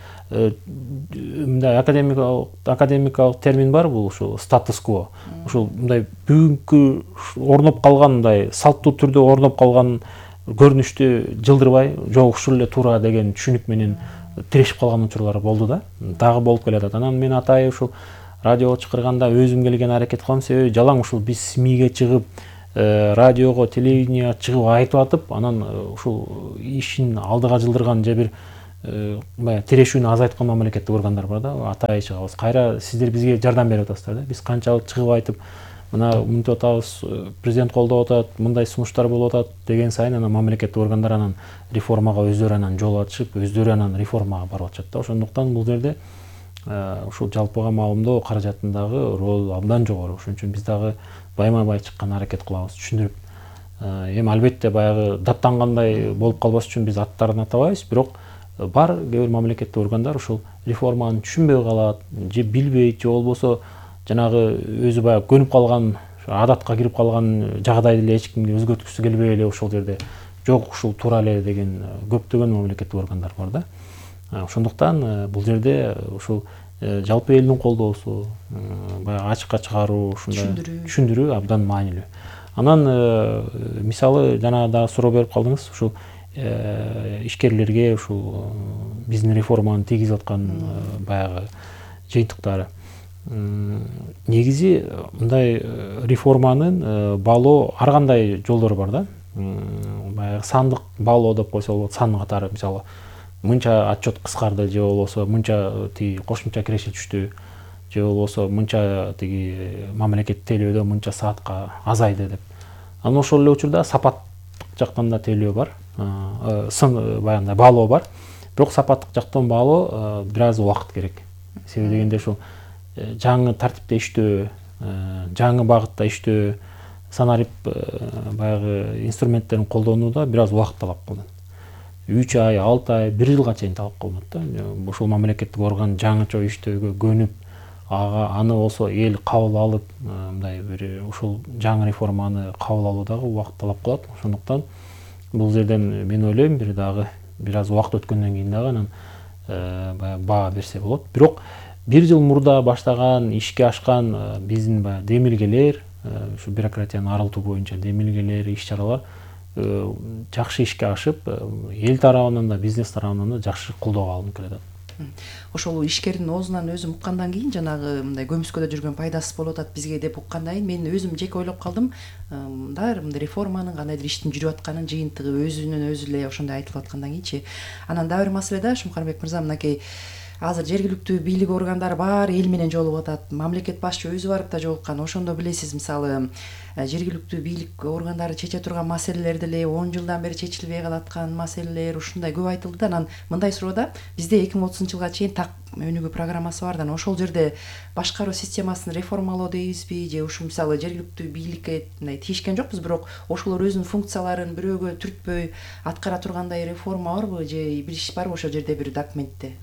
S14: академикалык термин бар, бул ушул статус-кво. Ушул мындай бүгүнкү орноп калган, мындай салттуу түрдө орноп калган көрүнүштү жылдырбай, жок ушул эле туура деген түшүнүк менен тирешип калган учурлар болду да. Дагы болуп келатат. Анан мен атайын ушул радиого чакырганда өзүм келген аракет кылам, себеби жалаң ушул биз СМИге чыгып, радиого, телевиденияга чыгып айтып атып, анан ушул ишин алдыга жылдырган же бир баягы тирешүүнү азайткан мамлекеттик органдар бар да, атайын чыгабыз. Кайра сиздер бизге жардам берип атасыздар да. Биз канчалык чыгып айтып, мына мынтип атабыз, президент колдоп атат, мындай сунуштар болуп атат деген сайын анан мамлекеттик органдар анан реформага өздөрү анан жол ачып, өздөрү анан реформага барып атышат да. Ошондуктан бул жерде ушул жалпыга маалымдоо каражатындагы рол абдан жогору. Ошон үчүн биз дагы байма-бай чыккан аракет кылабыз, түшүндүрүп. Эми албетте баягы даттангандай болуп калбаш үчүн биз аттарын атабайбыз, бирок бар кээ бир мамлекеттик органдар ушул реформаны түшүнбөй калат, же билбейт, же болбосо жанагы өзү баягы көнүп калган, адатка кирип калган жагдайды эле эч кимге өзгөрткүсү келбей эле ошол жерде жок ушул туура эле деген көптөгөн мамлекеттик органдар бар да. Ошондуктан бул жерде ушул жалпы элдин колдоосу, баягы ачыкка чыгаруу, ушундай түшүндүрүү абдан маанилүү. Анан мисалы жана дагы суроо берип калдыңыз, ушул ишкерлерге ушул биздин реформаны тийгизип аткан баягы жыйынтыктары. Негизи мындай реформанын баалоо ар кандай жолдору бар да. Баягы сандык баалоо деп койсо болот, сан катары, мисалы мынча отчет кыскарды, же болбосо мынча тиги кошумча киреше түштү, же болбосо мынча тиги мамлекет тейлөөдө мынча саатка азайды деп. Анан ошол эле учурда сапаттык жактан да тейлөө бар, баягындай баалоо бар. Бирок сапаттык жактан баалоо бир аз убакыт керек. Себеби дегенде ушул жаңы тартипте иштөө, жаңы багытта иштөө, санарип баягы инструменттерин колдонууда бир аз убакыт талап кылынат. 3 ай, 6 ай, 1 жылга чейин талап кылынат да. Ошол мамлекеттик орган жаңыча иштөөгө көнүп, аны болсо эл кабыл алып, мындай бир ушул жаңы реформаны кабыл алуудагы убакыт талап кылат. Ошондуктан бул жерден мен ойлойм бир дагы бир аз убакыт өткөндөн кийин дагы анан баягы баа берсе болот. Бирок 1 жыл мурда баштаган, ишке ашкан биздин баягы демилгелер, ушу бюрократияны арылтуу боюнча демилгелер, иш-чаралар жакшы ишке ашып, эл тарабынан да, бизнес тарабынан да жакшы колдоого алынып келатат.
S5: Ошол ишкердин оозунан өзүм уккандан кийин жанагы мындай көмүскөдө жүргөн пайдасы болуп атат бизге деп уккандан кийин мен өзүм жеке ойлоп калдым. Мындай реформанын кандайдыр иштин жүрүп атканын жыйынтыгы өзүнөн өзү эле ошондой айтылып аткандан кийинчи. Анан дагы бир маселе да, Шумкарбек мырза, мынакей азыр жергиликтүү бийлик органдары бар эл менен жолугуп атат. Мамлекет башчы өзү барып да жолуккан. Ошондо билесиз, мисалы жергиликтүү бийлик органдары чече турган маселелер деле 10 жылдан бери чечилбей калаткан маселелер ушундай көп айтылды да. Анан мындай суроо да, бизде 2030-жылга чейин так өнүгүү программасы бар да. Ошол жерде башкаруу системасын реформалоо дейбизби, же ушу мисалы жергиликтүү бийликке мындай тийишкен жокпуз, бирок ошолор өзүнүн функцияларын бирөөгө түртпөй аткара тургандай реформа барбы, же бир иш барбы ошол жерде бир документте?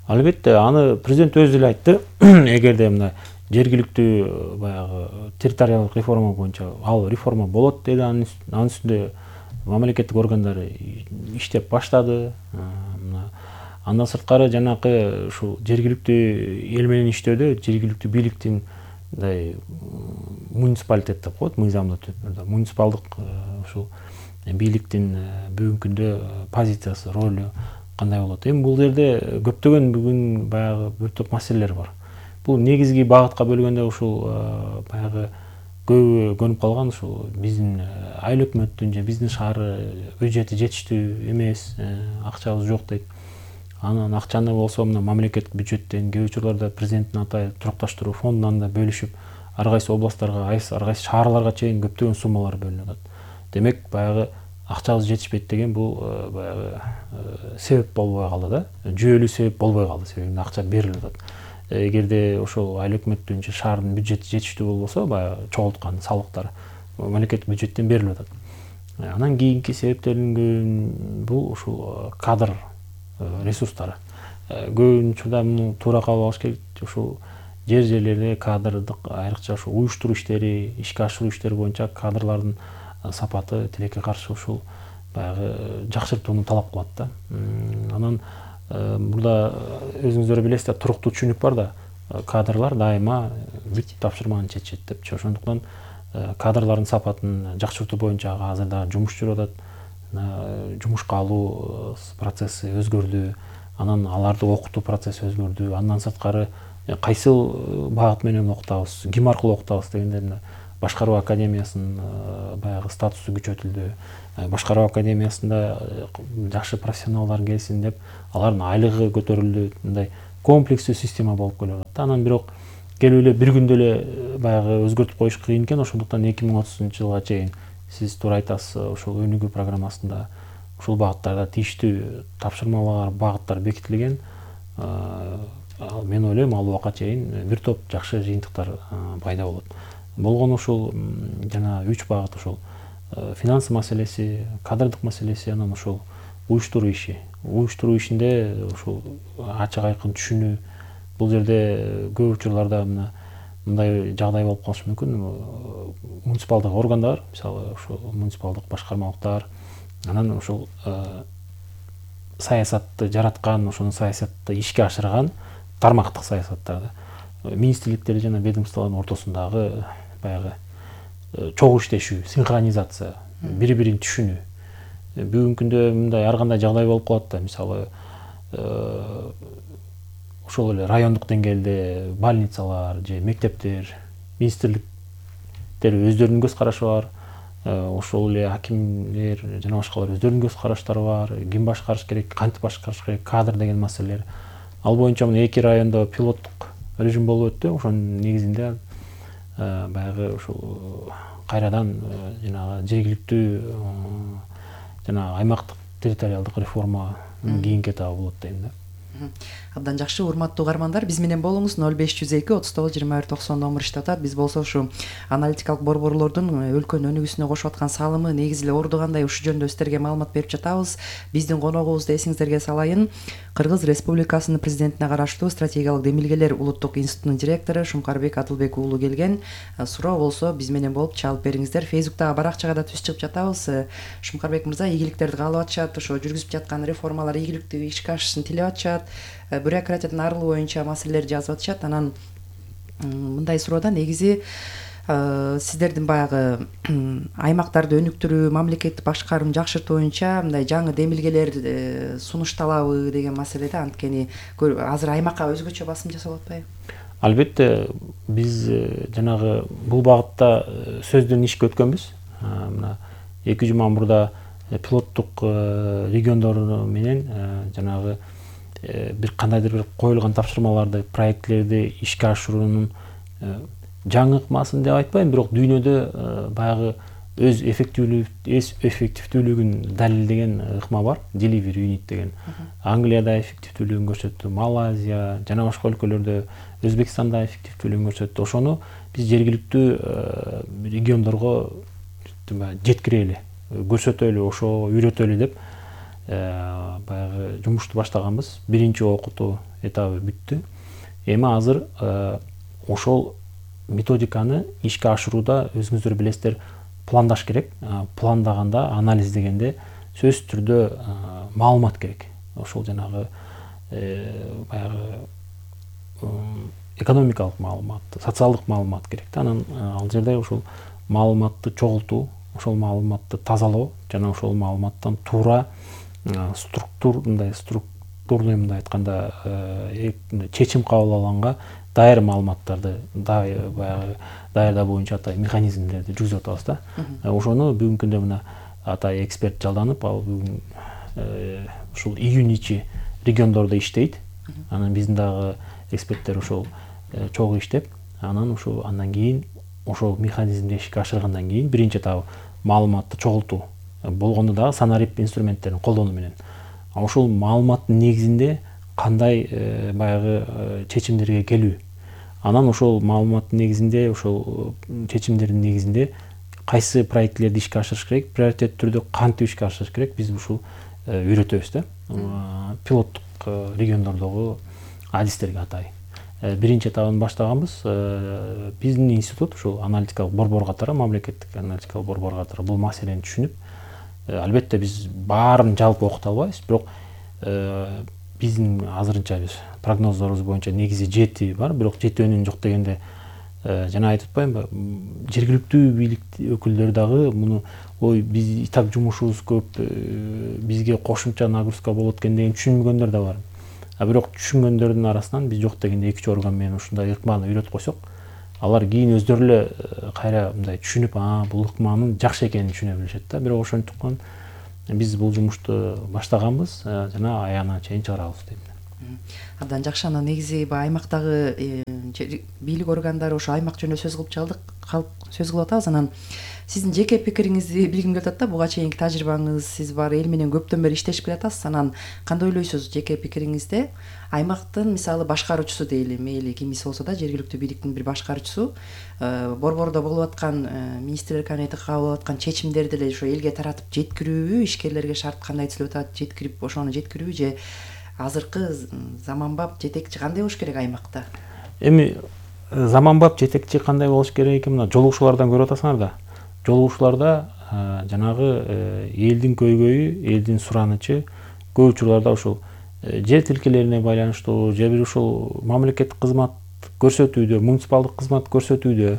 S14: Албетте, аны президент өзү эле айтты. Эгерде мына жергиликтүү баягы территориалдык реформа боюнча ал реформа болот деди, анын үстүндө мамлекеттик органдар иштеп баштады. Андан сырткары жанакы ушул жергиликтүү эл менен иштөөдө жергиликтүү бийликтин мындай муниципалитет деп коет, мыйзамдуу түрдө муниципалдык ушул бийликтин бүгүнкү күндө позициясы, ролу кандай болот? Эми бул жерде көптөгөн бүгүн баягы бир топ маселелер бар. Бул негизги багытка бөлгөндө ушул баягы көбү көнүп калган ушул биздин айыл өкмөттүн же биздин шаар бюджети жетиштүү эмес, акчабыз жок дейт. Анан акчаны болсо мына мамлекеттик бюджеттен кээ учурларда президенттин атайын турукташтыруу фондунан да бөлүшүп, ар кайсы областтарга, ар кайсы шаарларга чейин көптөгөн суммалар бөлүнүп атат. Демек баягы акчабыз жетишпейт деген бул баягы себеп болбой калды да. Жүйөлүү себеп болбой калды, себеби акча берилип атат. Эгерде ошол айыл өкмөттүн же шаардын бюджети жетиштүү болбосо, баягы чогулткан салыктар мамлекеттик бюджеттен берилип атат. Анан кийинки себептердин бул ушул кадр ресурстары. Көбүн учурда муну туура кабыл алыш керек. Ушул жерлерде кадрдык айрыкча ушул уюштуруу иштери, ишке ашыруу иштери боюнча кадрлардын сапаты тилекке каршы ушул баягы жакшыртууну талап кылат да. Анан мурда өзүңүздөр билесиздер, туруктуу түшүнүк бар да, кадрлар дайыма бүт тапшырманы чечет депчи. Ошондуктан кадрлардын сапатын жакшыртуу боюнча азырда жумуш жүрүп атат. Жумушка алуу процесси өзгөрдү, анан аларды окутуу процесси өзгөрдү. Андан сырткары кайсыл багыт менен окутабыз, ким аркылуу окутабыз дегенде башкаруу академиясынын баягы статусу күчөтүлдү. Башкаруу академиясында жакшы профессионалдар келсин деп алардын айлыгы көтөрүлдү. Мындай комплекстүү система болуп келип атат. Анан бирок келип эле бир күндө эле баягы өзгөртүп коюш кыйын экен. Ошондуктан 2030-жылга чейин сиз туура айтасыз, ушул өнүгүү программасында ушул багыттарда тийиштүү тапшырмалар, багыттар бекитилген. Мен ойлойм, ал убакка чейин бир топ жакшы жыйынтыктар пайда болот. Болгону ушул жана 3 багыт ушул финансы маселеси, кадрдык маселеси, анан ушул уюштуруу иши. Уюштуруу ишинде ушул ачык айкын түшүнүү. Бул жерде көп учурларда мындай жагдай болуп калышы мүмкүн. Муниципалдык органдар, мисалы ушул муниципалдык башкармалыктар, анан ушул саясатты жараткан, ошону саясатты ишке ашырган тармактык саясаттарды, министрликтер жана ведомстволордун ортосундагы баягы чогуу иштешүү, синхронизация, бири-бирин түшүнүү. Бүгүнкү күндө мындай ар кандай жагдай болуп калат да, мисалы ошол эле райондук деңгээлде больницалар же мектептер, министрликтер өздөрүнүн көз карашы бар, ошол эле акимдер жана башкалар өздөрүнүн көз караштары бар, ким башкарыш керек, кантип башкарыш керек, кадр деген маселелер. Ал боюнча мына 2 райондо пилоттук режим болуп өттү. Ошонун негизинде баягы ушул кайрадан жанагы жергиликтүү жана аймактык территориалдык реформа кийинки этабы болот дейм да.
S5: Абдан жакшы, урматтуу угармандар, биз менен болуңуз. 0502 39 21 90 номер иштеп атат. Биз болсо ушу аналитикалык борборлордун өлкөнүн өнүгүүсүнө кошуп аткан салымы, негизи эле орду кандай, ушул жөнүндө сиздерге маалымат берип жатабыз. Биздин коногубузду эсиңиздерге салайын. Кыргыз Республикасынын президентине караштуу стратегиялык демилгелер улуттук институтунун директору Шумкарбек Адылбек уулу келген. Суроо болсо биз менен болуп чалып бериңиздер. Фейсбуктагы баракчага да түз чыгып жатабыз. Шумкарбек мырза ийгиликтерди каалап атышат, ошо жүргүзүп жаткан реформалар ийгиликтүү ишке ашышын тилеп атышат. Бюрократиядан арылуу боюнча маселелер жазып атышат. Анан мындай суроодо негизи сиздердин баягы аймактарды өнүктүрүү, мамлекеттик башкарууну жакшыртуу боюнча мындай жаңы демилгелер сунушталабы деген маселеде, анткени азыр аймакка өзгөчө басым жасалып атпайбы?
S14: Албетте, биз жанагы бул багытта сөздөн ишке өткөнбүз. Мына 2 жума мурда пилоттук региондор менен жанагы бир кандайдыр бир коюлган тапшырмаларды, проектлерди ишке ашыруунун жаңы ыкмасын деп айтпайм, бирок дүйнөдө баягы өз эффективдүүлүгүн далилдеген ыкма бар, delivery unit деген. Англияда эффективдүүлүгүн көрсөттү, Малайзия жана башка өлкөлөрдө, Өзбекстанда эффективдүүлүгүн көрсөттү. Ошону биз жергиликтүү региондорго жеткирели, көрсөтөлү, ошо үйрөтөлү деп баягы жумушту баштаганбыз. Биринчи окутуу этабы бүттү. Эми азыр ошол методиканы ишке ашырууда өзүңүздөр билесиздер, пландаш керек. Пландаганда, анализ дегенде сөзсүз түрдө маалымат керек. Ошол жанагы баягы экономикалык маалымат, социалдык маалымат керек. Анан ал жерде ошол маалыматты чогултуу, ошол маалыматты тазалоо жана ошол маалыматтан туура структурный мындай айтканда чечим кабыл алганга дайыр маалыматтарды баягы даярдоо боюнча атай механизмдерди жүргүзүп атабыз да. Ошону бүгүнкү күндө мына атай эксперт жалданып, ал бүгүн ушул июнь ичи региондордо иштейт. Анан биздин дагы эксперттер ошол чогуу иштеп, анан ошол андан кийин ошол механизмди ишке ашыргандан кийин биринчи этабы маалыматты чогултуу, болгондо дагы санарип инструменттерин колдонуу менен. Ошол маалыматтын негизинде кандай баягы чечимдерге келүү. Анан ошол маалыматтын негизинде, ошол чечимдердин негизинде кайсы проектлерди ишке ашырыш керек, приоритет түрдө кантип ишке ашырыш керек, биз ушул үйрөтөбүз да. Пилоттук региондордогу адистерге атай. биринчи этабын баштаганбыз. Биздин институт ушул аналитикалык борбор катары, мамлекеттик аналитикалык борбор катары бул маселени түшүнүп, албетте биз баарын жалпы окута албайбыз, бирок биздин азырынча биз прогноздорубуз боюнча негизи 7 бар, бирок жетөөнүн жок дегенде жана айтып атпаймынбы, жергиликтүү бийлик өкүлдөрү дагы муну ой биз и так жумушубуз көп, бизге кошумча нагрузка болот экен деген түшүнбөгөндөр да бар. Бирок түшүнгөндөрдүн арасынан биз жок дегенде 2 орган менен ушундай ыкманы үйрөтүп койсок, алар кийин өздөрү эле кайра мындай түшүнүп, бул ыкманын жакшы экенин түшүнө билишет да. Бирок ошондуктан биз бул жумушту баштаганбыз жана аягына чейин чыгарабыз дейм.
S5: Абдан жакшы. Анан негизи аймактагы бийлик органдары ошо аймак жөнүндө сөз кылып атабыз. Анан сиздин жеке пикириңизди билгим келип атат да. Буга чейинки тажрыйбаңыз, сиз бар эл менен көптөн бери иштешип келатасыз. Анан кандай ойлойсуз жеке пикириңизде? Аймактын мисалы башкаруучусу дейли, мейли кимиси болсо да, жергиликтүү бийликтин бир башкаруучусу борбордо болуп аткан министрлер кабинети кабыл алып аткан чечимдерди эле ошо элге таратып жеткирүүбү, ишкерлерге шарт кандай түзүлүп атат, жеткирип ошону жеткирүүбү же азыркы заманбап жетекчи кандай болуш керек аймакта?
S14: Эми заманбап жетекчи кандай болуш керек? Мына жолугушуулардан көрүп атасыңар да. Жолугушууларда жанагы элдин көйгөйү, элдин суранычы көп учурларда ушул жер тилкелерине байланыштуу, же бир ушул мамлекеттик кызмат көрсөтүүдө, муниципалдык кызмат көрсөтүүдө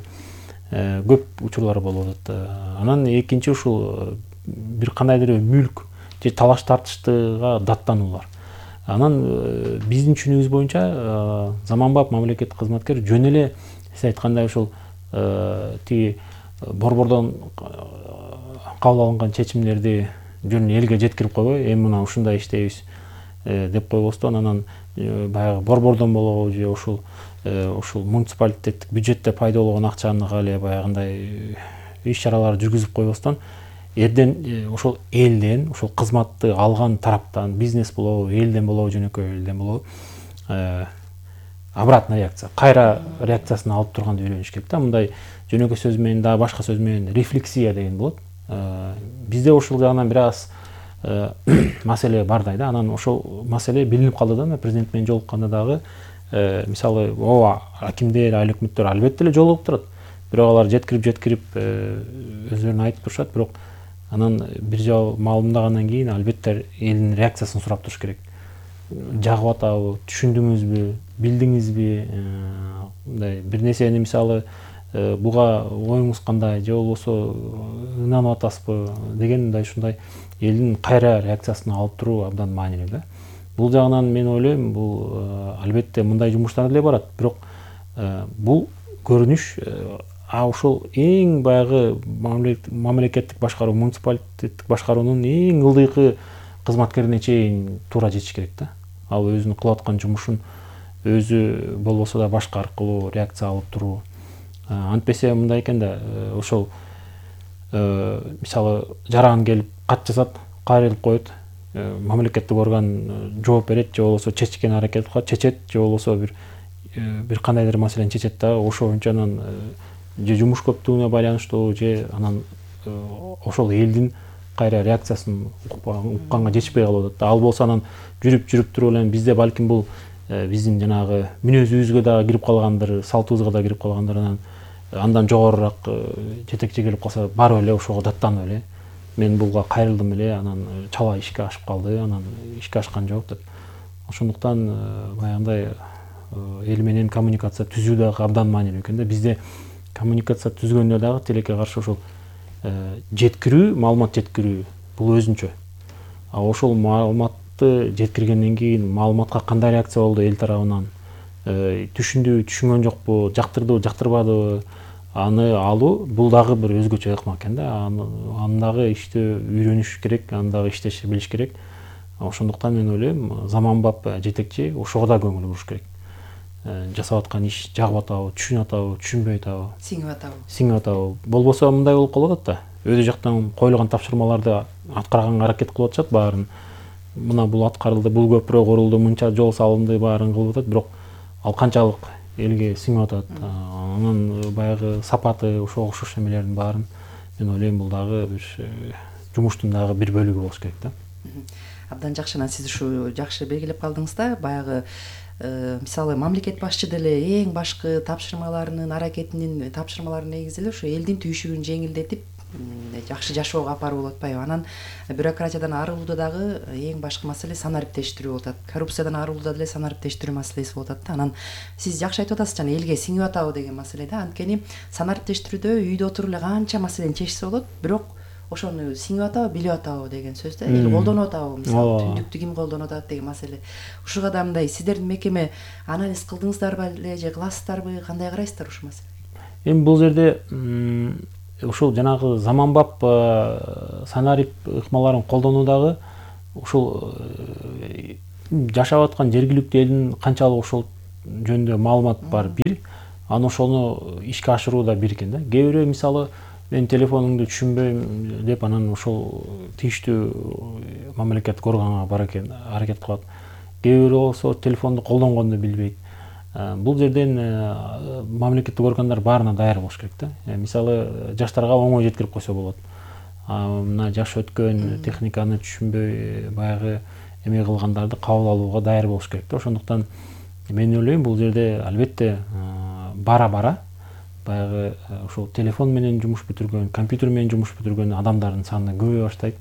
S14: көп учурлар болуп атат. Анан экинчи ушул бир кандайдыр мүлк же талаш тартыштыга даттануулар. Анан биздин түшүнүгүбүз боюнча заманбап мамлекеттик кызматкер жөн эле сиз айткандай ушул тиги борбордон кабыл алынган чечимдерди жөн элге жеткирип койбой, эми мына ушундай иштейбиз деп койбостон, анан баягы борбордон болобу же ушул муниципалитеттик бюджетте пайда болгон акчаны эле баягындай иш чаралар жүргүзүп койбостон, эрден ошол элден, ушул кызматты алган тараптан, бизнес болобу, элден болобу, жөнөкөй элден болобу, обратная реакция, кайра реакциясын алып турганды үйрөнүш керек да. Мындай жөнөкөй сөз менен да, башка сөз менен рефлексия деген болот. Бизде ошол жагынан бир аз маселе бардай да. Анан ошол маселе билинип калды да. Президент менен жолукканда дагы мисалы ооба акимдер, айыл өкмөттөр албетте эле жолугуп турат. Бирок алар жеткирип өздөрүнө айтып турушат, бирок анан бир жолу маалымдагандан кийин албетте элдин реакциясын сурап туруш керек. Жагып атабы, түшүндүңүзбү, билдиңизби, мындай бир нерсени мисалы буга оюңуз кандай, же болбосо ынанып атасызбы деген мындай ушундай элдин кайра реакциясын алып туруу абдан маанилүү да. Бул жагынан мен ойлойм, бул албетте мындай жумуштар деле барат, бирок бул көрүнүш ошол эң баягы мамлекеттик башкаруу, муниципалитеттик башкаруунун эң ылдыйкы кызматкерине чейин туура жетиш керек да. Ал өзүнүн кылып аткан жумушун өзү болбосо да башка аркылуу реакция алып туруу. Антпесе мындай экен да, ошол мисалы жаран келип кат жазат, кайрылып коет, мамлекеттик орган жооп берет, же болбосо чечкен аракет кылат, чечет, же болбосо бир кандайдыр маселени чечет да, ошо боюнча анан же жумуш көптүгүнө байланыштуу, же анан ошол элдин кайра реакциясын укканга жетишпей калып атат да. Ал болсо анан жүрүп туруп эле бизде балким бул биздин жанагы мүнөзүбүзгө дагы кирип калгандыр, салтыбызга да кирип калгандыр, андан жогорураак жетекчи келип калса барып эле ошого даттанып эле мен буга кайрылдым эле, анан чала ишке ашып калды, анан ишке ашкан жок деп. Ошондуктан баягындай эл менен коммуникация түзүү дагы абдан маанилүү экен да. Бизде коммуникация түзгөндө дагы тилекке каршы ошол жеткирүү, маалымат жеткирүү бул өзүнчө. Ошол маалыматты жеткиргенден кийин маалыматка кандай реакция болду эл тарабынан, түшүндүбү, түшүнгөн жокпу, жактырдыбы, жактырбадыбы, аны алуу бул дагы бир өзгөчө ыкма экен да. Аны дагы иштөө үйрөнүш керек, аны дагы иштеш билиш керек. Ошондуктан мен ойлойм, заманбап жетекчи ошого да көңүл буруш керек. Жасап аткан иш жагып атабы, түшүнүп атабы, түшүнбөй атабы, сиңип атабы. Болбосо мындай болуп калып атат да. Өзү жактан коюлган тапшырмаларды аткарганга аракет кылып атышат баарын. Мына бул аткарылды, бул көпүрө курулду, мынча жол салынды, баарын кылып атат, бирок ал канчалык элге сиңип атат. Анын баягы сапаты, ошого окшош эмелердин баарын мен ойлойм бул дагы бир жумуштун дагы бир бөлүгү болуш керек да.
S5: Абдан жакшы. Анан сиз ушу жакшы белгилеп калдыңыз да, баягы мисалы мамлекет башчы деле эң башкы тапшырмаларынын негизи эле ушу элдин түйшүгүн жеңилдетип жакшы жашоого алып баруу болуп атпайбы. Анан бюрократиядан арылууда дагы эң башкы маселе санариптештирүү болуп атат. Коррупциядан арылууда деле санариптештирүү маселеси болуп атат да. Анан сиз жакшы айтып атасыз жана элге сиңип атабы деген маселе да. Анткени санариптештирүүдө үйдө отуруп эле канча маселени чечсе болот, бирок ошону сиңип атабы, билип атабы деген сөз да. Эл колдонуп атабы, мисалы түндүктү ким колдонуп атат деген маселе. Ушуга да мындай сиздердин мекеме анализ кылдыңыздарбы эле же кыласыздарбы, кандай карайсыздар ушул маселеге?
S14: Эми бул жерде ушул жанагы заманбап санарип ыкмаларын колдонуудагы ушул жашап аткан жергиликтүү элдин канчалык ошол жөнүндө маалымат бар бир, анан ошону ишке ашырууда бир экен да. Кээ бирөө мисалы мен телефонуңду түшүнбөйм деп анан ошол тийиштүү мамлекеттик органга бар экен аракет кылат. Кээ бирөө болсо телефонду колдонгонду билбейт. Бул жерден мамлекеттик органдар баарына даяр болуш керек да. Мисалы жаштарга оңой жеткирип койсо болот. Мына жаш өткөн техниканы түшүнбөй баягы эме кылгандарды кабыл алууга даяр болуш керек да. Ошондуктан мен ойлойм бул жерде албетте бара-бара баягы ушул телефон менен жумуш бүтүргөн, компьютер менен жумуш бүтүргөн адамдардын саны көбөйө баштайт.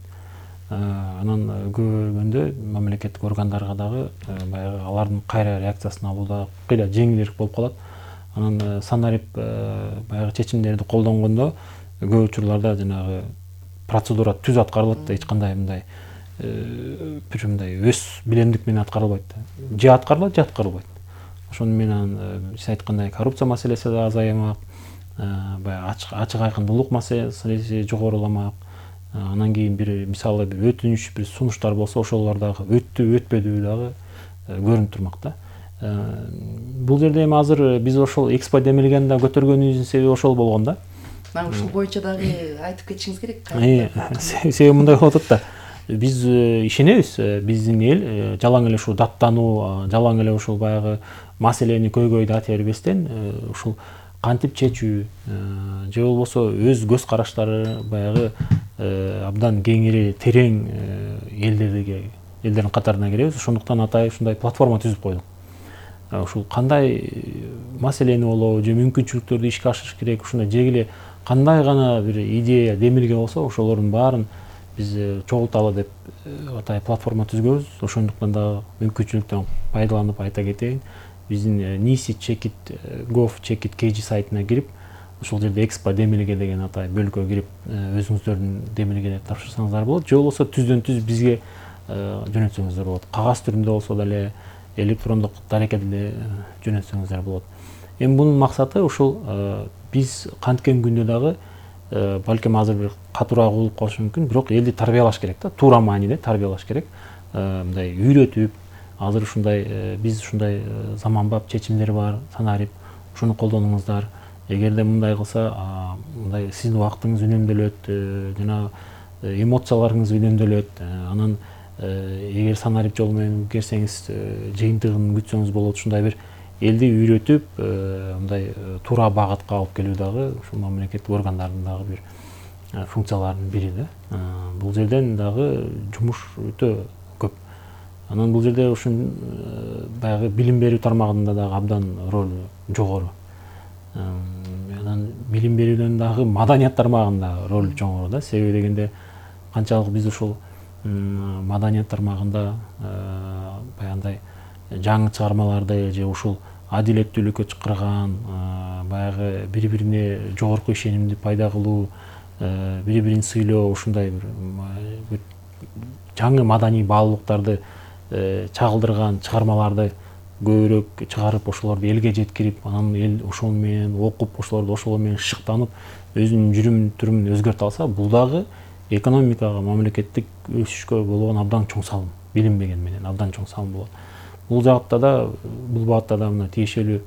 S14: Анан көбөйгөндө мамлекеттик органдарга дагы баягы алардын кайра реакциясын алууда кыйла жеңилирээк болуп калат. Анан санарип баягы чечимдерди колдонгондо көп учурларда жанагы процедура түз аткарылат да, эч кандай мындай бир мындай өз билемдик менен аткарылбайт. Же аткарылат, же аткарылбайт. Ошону менен сиз айткандай коррупция маселеси да азаймак, баягы ачык айкындуулук маселеси жогоруламак. Анан кийин бир мисалы бир өтүнүч, бир сунуштар болсо ошолор дагы өттү, өтпөдү дагы көрүнүп турмак да. Бул жерде эми азыр биз ошол экспо демилгени да көтөргөнүбүздүн себеби ошол болгон да.
S5: Ушул боюнча дагы айтып кетишиңиз керек.
S14: Себеби мындай болуп атат да. Биз ишенебиз, биздин эл жалаң эле ушул даттануу, жалаң эле ушул баягы маселени көйгөйдү ата бербестен ушул кантип чечүү же болбосо өз көз караштары баягы абдан кеңири, терең элдердин катарына киребиз. Ошондуктан атай ушундай платформа түзүп койдук. Ушул кандай маселени болобу же мүмкүнчүлүктөрдү ишке ашырыш керек, ушундай жегиле кандай гана бир идея, демилге болсо ошолордун баарын биз чогулталы деп атай платформа түзгөнбүз. Ошондуктан дагы мүмкүнчүлүктөн пайдаланып айта кетейин. Биздин nisi.gov.kg сайтына кирип, ошол жерде экспо демилге деген атай бөлүккө кирип, өзүңүздөрдүн демилгелерди тапшырсаңыздар болот. Же болбосо түздөн түз бизге жөнөтсөңүздөр болот. Кагаз түрүндө болсо деле, электрондук дарекет деле жөнөтсөңүздөр болот. Эми бунун максаты ушул биз канткен күндө дагы балким азыр бир катуураак болуп калышы мүмкүн, бирок элди тарбиялаш керек да, туура мааниде тарбиялаш керек. Мындай үйрөтүп, азыр ушундай биз ушундай заманбап чечимдер бар, санарип, ушуну колдонуңуздар. Эгерде мындай кылса, мындай сиздин убактыңыз үнөмдөлөт, жана эмоцияларыңыз үнөмдөлөт. Анан эгер санарип жолу менен келсеңиз, жыйынтыгын күтсөңүз болот. Ушундай бир элди үйрөтүп, мындай туура багытка алып келүү дагы ушул мамлекеттик органдардын дагы бир функцияларынын бири да. Бул жерден дагы жумуш өтө көп. Анан бул жерде ушун баягы билим берүү тармагында дагы абдан роль жогору. Анан билим берүүдөн дагы маданият тармагында роль жогору да. Себеби дегенде канчалык биз ушул маданият тармагында баягындай жаңы чыгармаларды же ушул адилеттүүлүккө чакырган, баягы бири-бирине жогорку ишенимди пайда кылуу, бири-бирин сыйлоо, ушундай бир жаңы маданий баалуулуктарды чагылдырган чыгармаларды көбүрөөк чыгарып, ошолорду элге жеткирип, анан эл ошол менен окуп, ошолорду ошол менен шыктанып, өзүнүн жүрүм турумун өзгөртө алса, бул дагы экономикага, мамлекеттик өсүшкө болгон абдан чоң салым, билинбеген менен абдан чоң салым болот. Бул жакта да, бул багытта да мына тиешелүү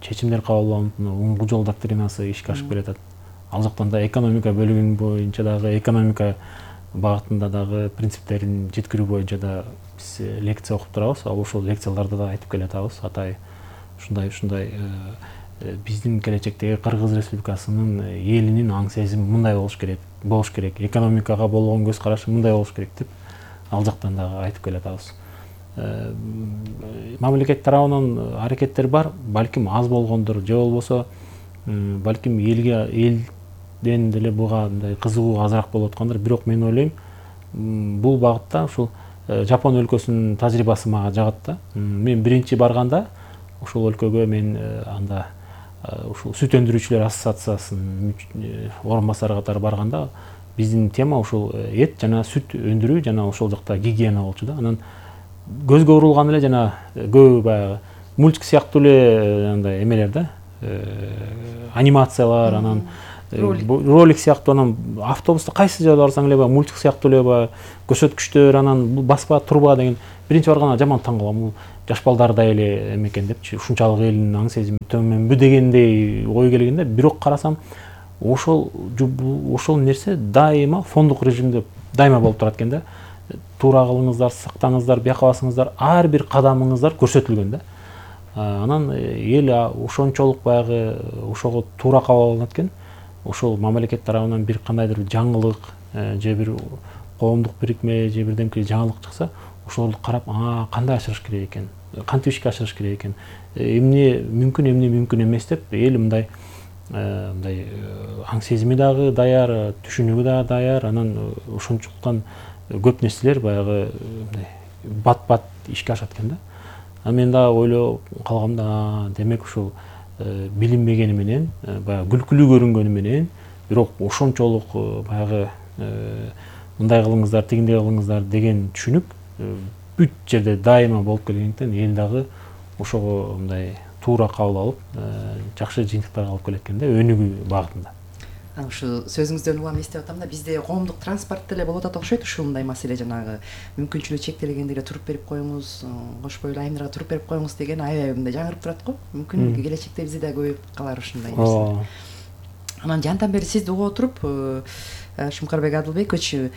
S14: чечимдер кабыл алынып, оңгу жол доктринасы ишке ашып келатат. Ал жактан да экономика бөлүгү боюнча дагы экономика багытында дагы принциптерин жеткирүү боюнча да биз лекция окуп турабыз. Ошол лекцияларда да айтып келатабыз. Атай ушундай биздин келечектеги Кыргыз Республикасынын элинин аң сезими мындай болуш керек, экономикага болгон көз карашы мындай болуш керек деп ал жактан дагы айтып келатабыз. мамлекет тарабынан аракеттер бар, балким аз болгондур, же болбосо балким элден деле буга мындай кызыгуу азыраак болуп аткандыр. Бирок мен ойлойм, бул багытта ушул Жапон өлкөсүнүн тажрыйбасы мага жагат да. Мен биринчи барганда ушул өлкөгө мен анда ушул сүт өндүрүүчүлөр ассоциациясынын орун басары катары барганда биздин тема ушул эт жана сүт өндүрүү жана ошол жакта гигиена болчу да. Анан көзгө урулган эле жана көп баягы мультик сыяктуу эле андай эмелер да, анимациялар, анан ролик сыяктуу, анан автобуста кайсы жерде барсаң эле баягы мультик сыяктуу эле баягы көрсөткүчтөр, анан бул баспа турба деген биринчи барганда жаман таң калгам. Бул жаш балдардай эле эмекен депчи, ушунчалык элдин аң сезими төмөнбү дегендей ой келгенде, бирок карасам ошол нерсе дайыма фондук режимде дайыма болуп турат экен да. Туура кылыңыздар, сактаңыздар, бияка басыңыздар, ар бир кадамыңыздар көрсөтүлгөн да. Анан эл ошончолук баягы ошого туура кабыл алат экен. Ошол мамлекет тарабынан бир кандайдыр жаңылык же бир коомдук бирикме же бирдемке жаңылык чыкса, ошолорду карап, кандай ашырыш керек экен, кантип ишке ашырыш керек экен, эмне мүмкүн, эмне мүмкүн эмес деп эл мындай аң сезими дагы даяр, түшүнүгү дагы даяр. Анан ошончолуктан көп нерселер баягы бат-бат ишке ашат экен да. Мен дагы ойлоп калгам да, демек ушул билинбегени менен, баягы күлкүлүү көрүнгөнү менен, бирок ошончолук баягы мындай кылыңыздар, тигиндей кылыңыздар деген түшүнүк бүт жерде дайыма болуп келгендиктен эл дагы ошого мындай туура кабыл алып, жакшы жыйынтыктарга алып келет экен да, өнүгүү багытында.
S5: Ушу сөзүңүздөн улам эстеп атам да, бизде коомдук транспорт деле болуп атат окшойт. Ушундай маселе жанагы мүмкүнчүлүгү чектелгендерге туруп берип коюңуз, кош бойлуу айымдарга туруп берип коюңуз деген аябай мындай жаңырып турат го. Мүмкүн келечекте бизде да көбөйүп калар ушундай нерсе. Анан жантан бери сизди угуп отуруп, Шумкарбек Адылбекович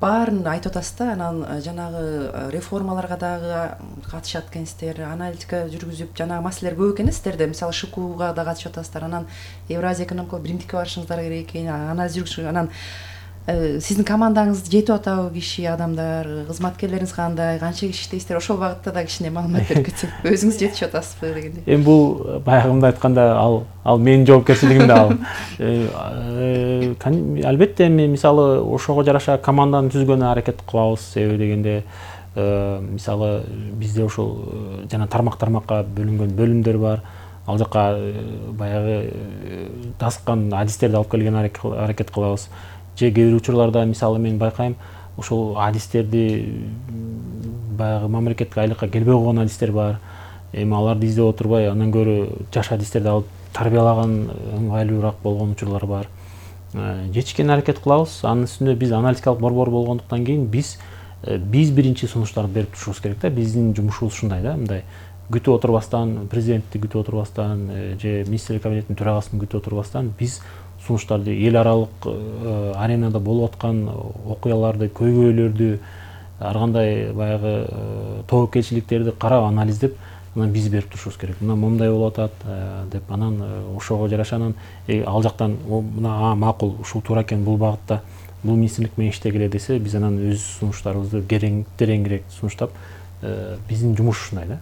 S5: баарын айтып атасыз да. Анан жанагы реформаларга дагы катышат экенсиздер, аналитика жүргүзүп, жанагы маселелер көп экен сиздерде. Мисалы ШКУга да катышып атасыздар, анан Евразия экономикалык биримдикке барышыңыздар керек экен, анализ жүргүзүп. Анан сиздин командаңыз жетип атабы, киши, адамдар, кызматкерлериңиз кандай, канча киши иштейсиздер? Ошол багытта да кичине маалымат берип кетсек, өзүңүз жетишип атасызбы дегендей.
S14: Эми бул баягымда айтканда ал менин жоопкерчилигимде ал. Албетте мен мисалы ошого жараша команданы түзгөнгө аракет кылабыз. Себеби дегенде мисалы бизде ошол жана тармакка бөлүнгөн бөлүмдөр бар. Ал жака баягы таскан адистерди алып келген аракет кылабыз. Же кээ бир учурларда мисалы мен байкайм, ошол адистерди баягы мамлекеттик айлыкка келбей койгон адистер бар. Эми аларды издеп отурбай, андан көрө жаш адистерди алып тарбиялаган ыңгайлуураак болгон учурлар бар. Жетишкен аракет кылабыз. Анын үстүндө биз аналитикалык борбор болгондуктан кийин биз биринчи сунуштарды берип турушубуз керек да. Биздин жумушубуз ушундай да, мындай күтүп отурбастан, президентти күтүп отурбастан, же министрлер кабинетинин төрагасын күтүп отурбастан биз сунуштарды, эл аралык аренада болуп аткан окуяларды, көйгөйлөрдү, ар кандай баягы тобокелчиликтерди карап, анализдеп, анан биз берип турушубуз керек. Мына момундай болуп атат деп, анан ошого жараша анан ал жактан мына макул, ушул туура экен, бул багытта бул министрлик менен иштегиле десе, биз анан өз сунуштарыбызды тереңирээк сунуштап, биздин жумуш ушундай да.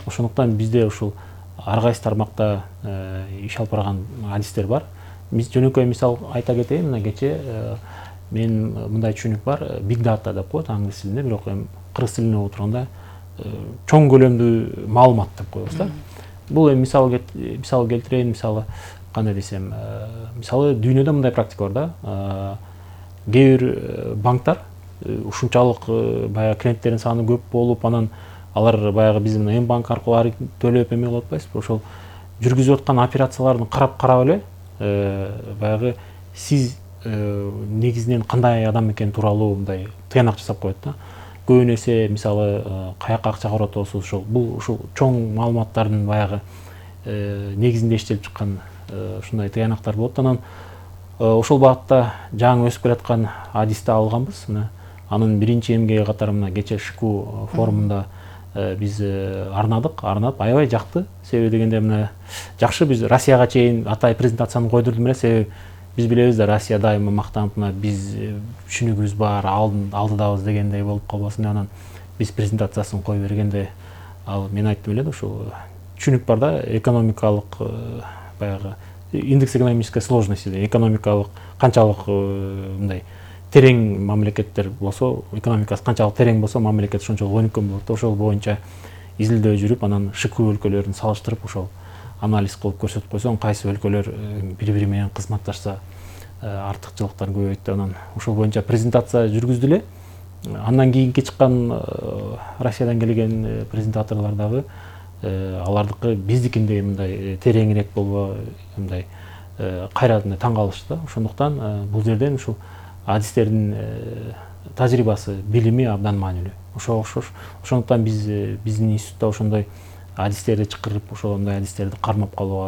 S14: Ошондуктан бизде ушул ар кайсы тармакта иш алып барган адистер бар. Биз жөнөкөй мисал айта кетейин, мына кече мен мындай түшүнүк бар, big data деп коет англис тилинде, бирок эми кыргыз тилинде болуп турганда чоң көлөмдүү маалымат деп коебуз да. Бул эми мисал келтирейин, мисалы кандай десем, мисалы дүйнөдө мындай практика бар да. Кээ бир банктар ушунчалык баягы клиенттердин саны көп болуп, анан алар баягы биздин М-банк аркылуу төлөп эме кылып атпайсызбы, ошол жүргүзүп аткан операцияларды карап эле баягы сиз негизинен кандай адам экени тууралуу мындай тыянак жасап коет да. Көбүн эсе мисалы каяка акча карап атабыз, бул ушул чоң маалыматтардын баягы негизинде иштелип чыккан ушундай тыянактар болот. Анан ошол багытта жаңы өсүп келаткан адисти алганбыз. Анын биринчи эмгеги катары мына кече ШКУ форумунда биз арнап аябай жакты. Себеби дегенде мына жакшы, биз Россияга чейин атай презентацияны койдурдум эле, себеби биз билебиз да, Россия дайыма мактанып, мына биз түшүнүгүбүз бар, алдыдабыз дегендей болуп калбасын. Анан биз презентациясын кое бергенде ал мен айттым эле да ушул түшүнүк бар да, экономикалык баягы индекс экономической сложности, экономикалык канчалык мындай терең мамлекеттер болсо, экономикасы канчалык терең болсо, мамлекет ошончолук өнүккөн болот. Ошол боюнча изилдөө жүрүп, анан ШКУ өлкөлөрүн салыштырып ошол анализ кылып көрсөтүп койсоң, кайсы өлкөлөр бири-бири менен кызматташса артыкчылыктарын көбөйт деп, анан ошол боюнча презентация жүргүздү эле. Андан кийинки чыккан Россиядан келген презентаторлор дагы алардыкы биздикиндей мындай тереңирээк болбо, мындай кайра таң калышты да. Ошондуктан бул жерден ушул адистердин тажрыйбасы, билими абдан маанилүү. Ошондуктан биздин институтта ошондой адистерди чакырып, ошондой адистерди кармап калууга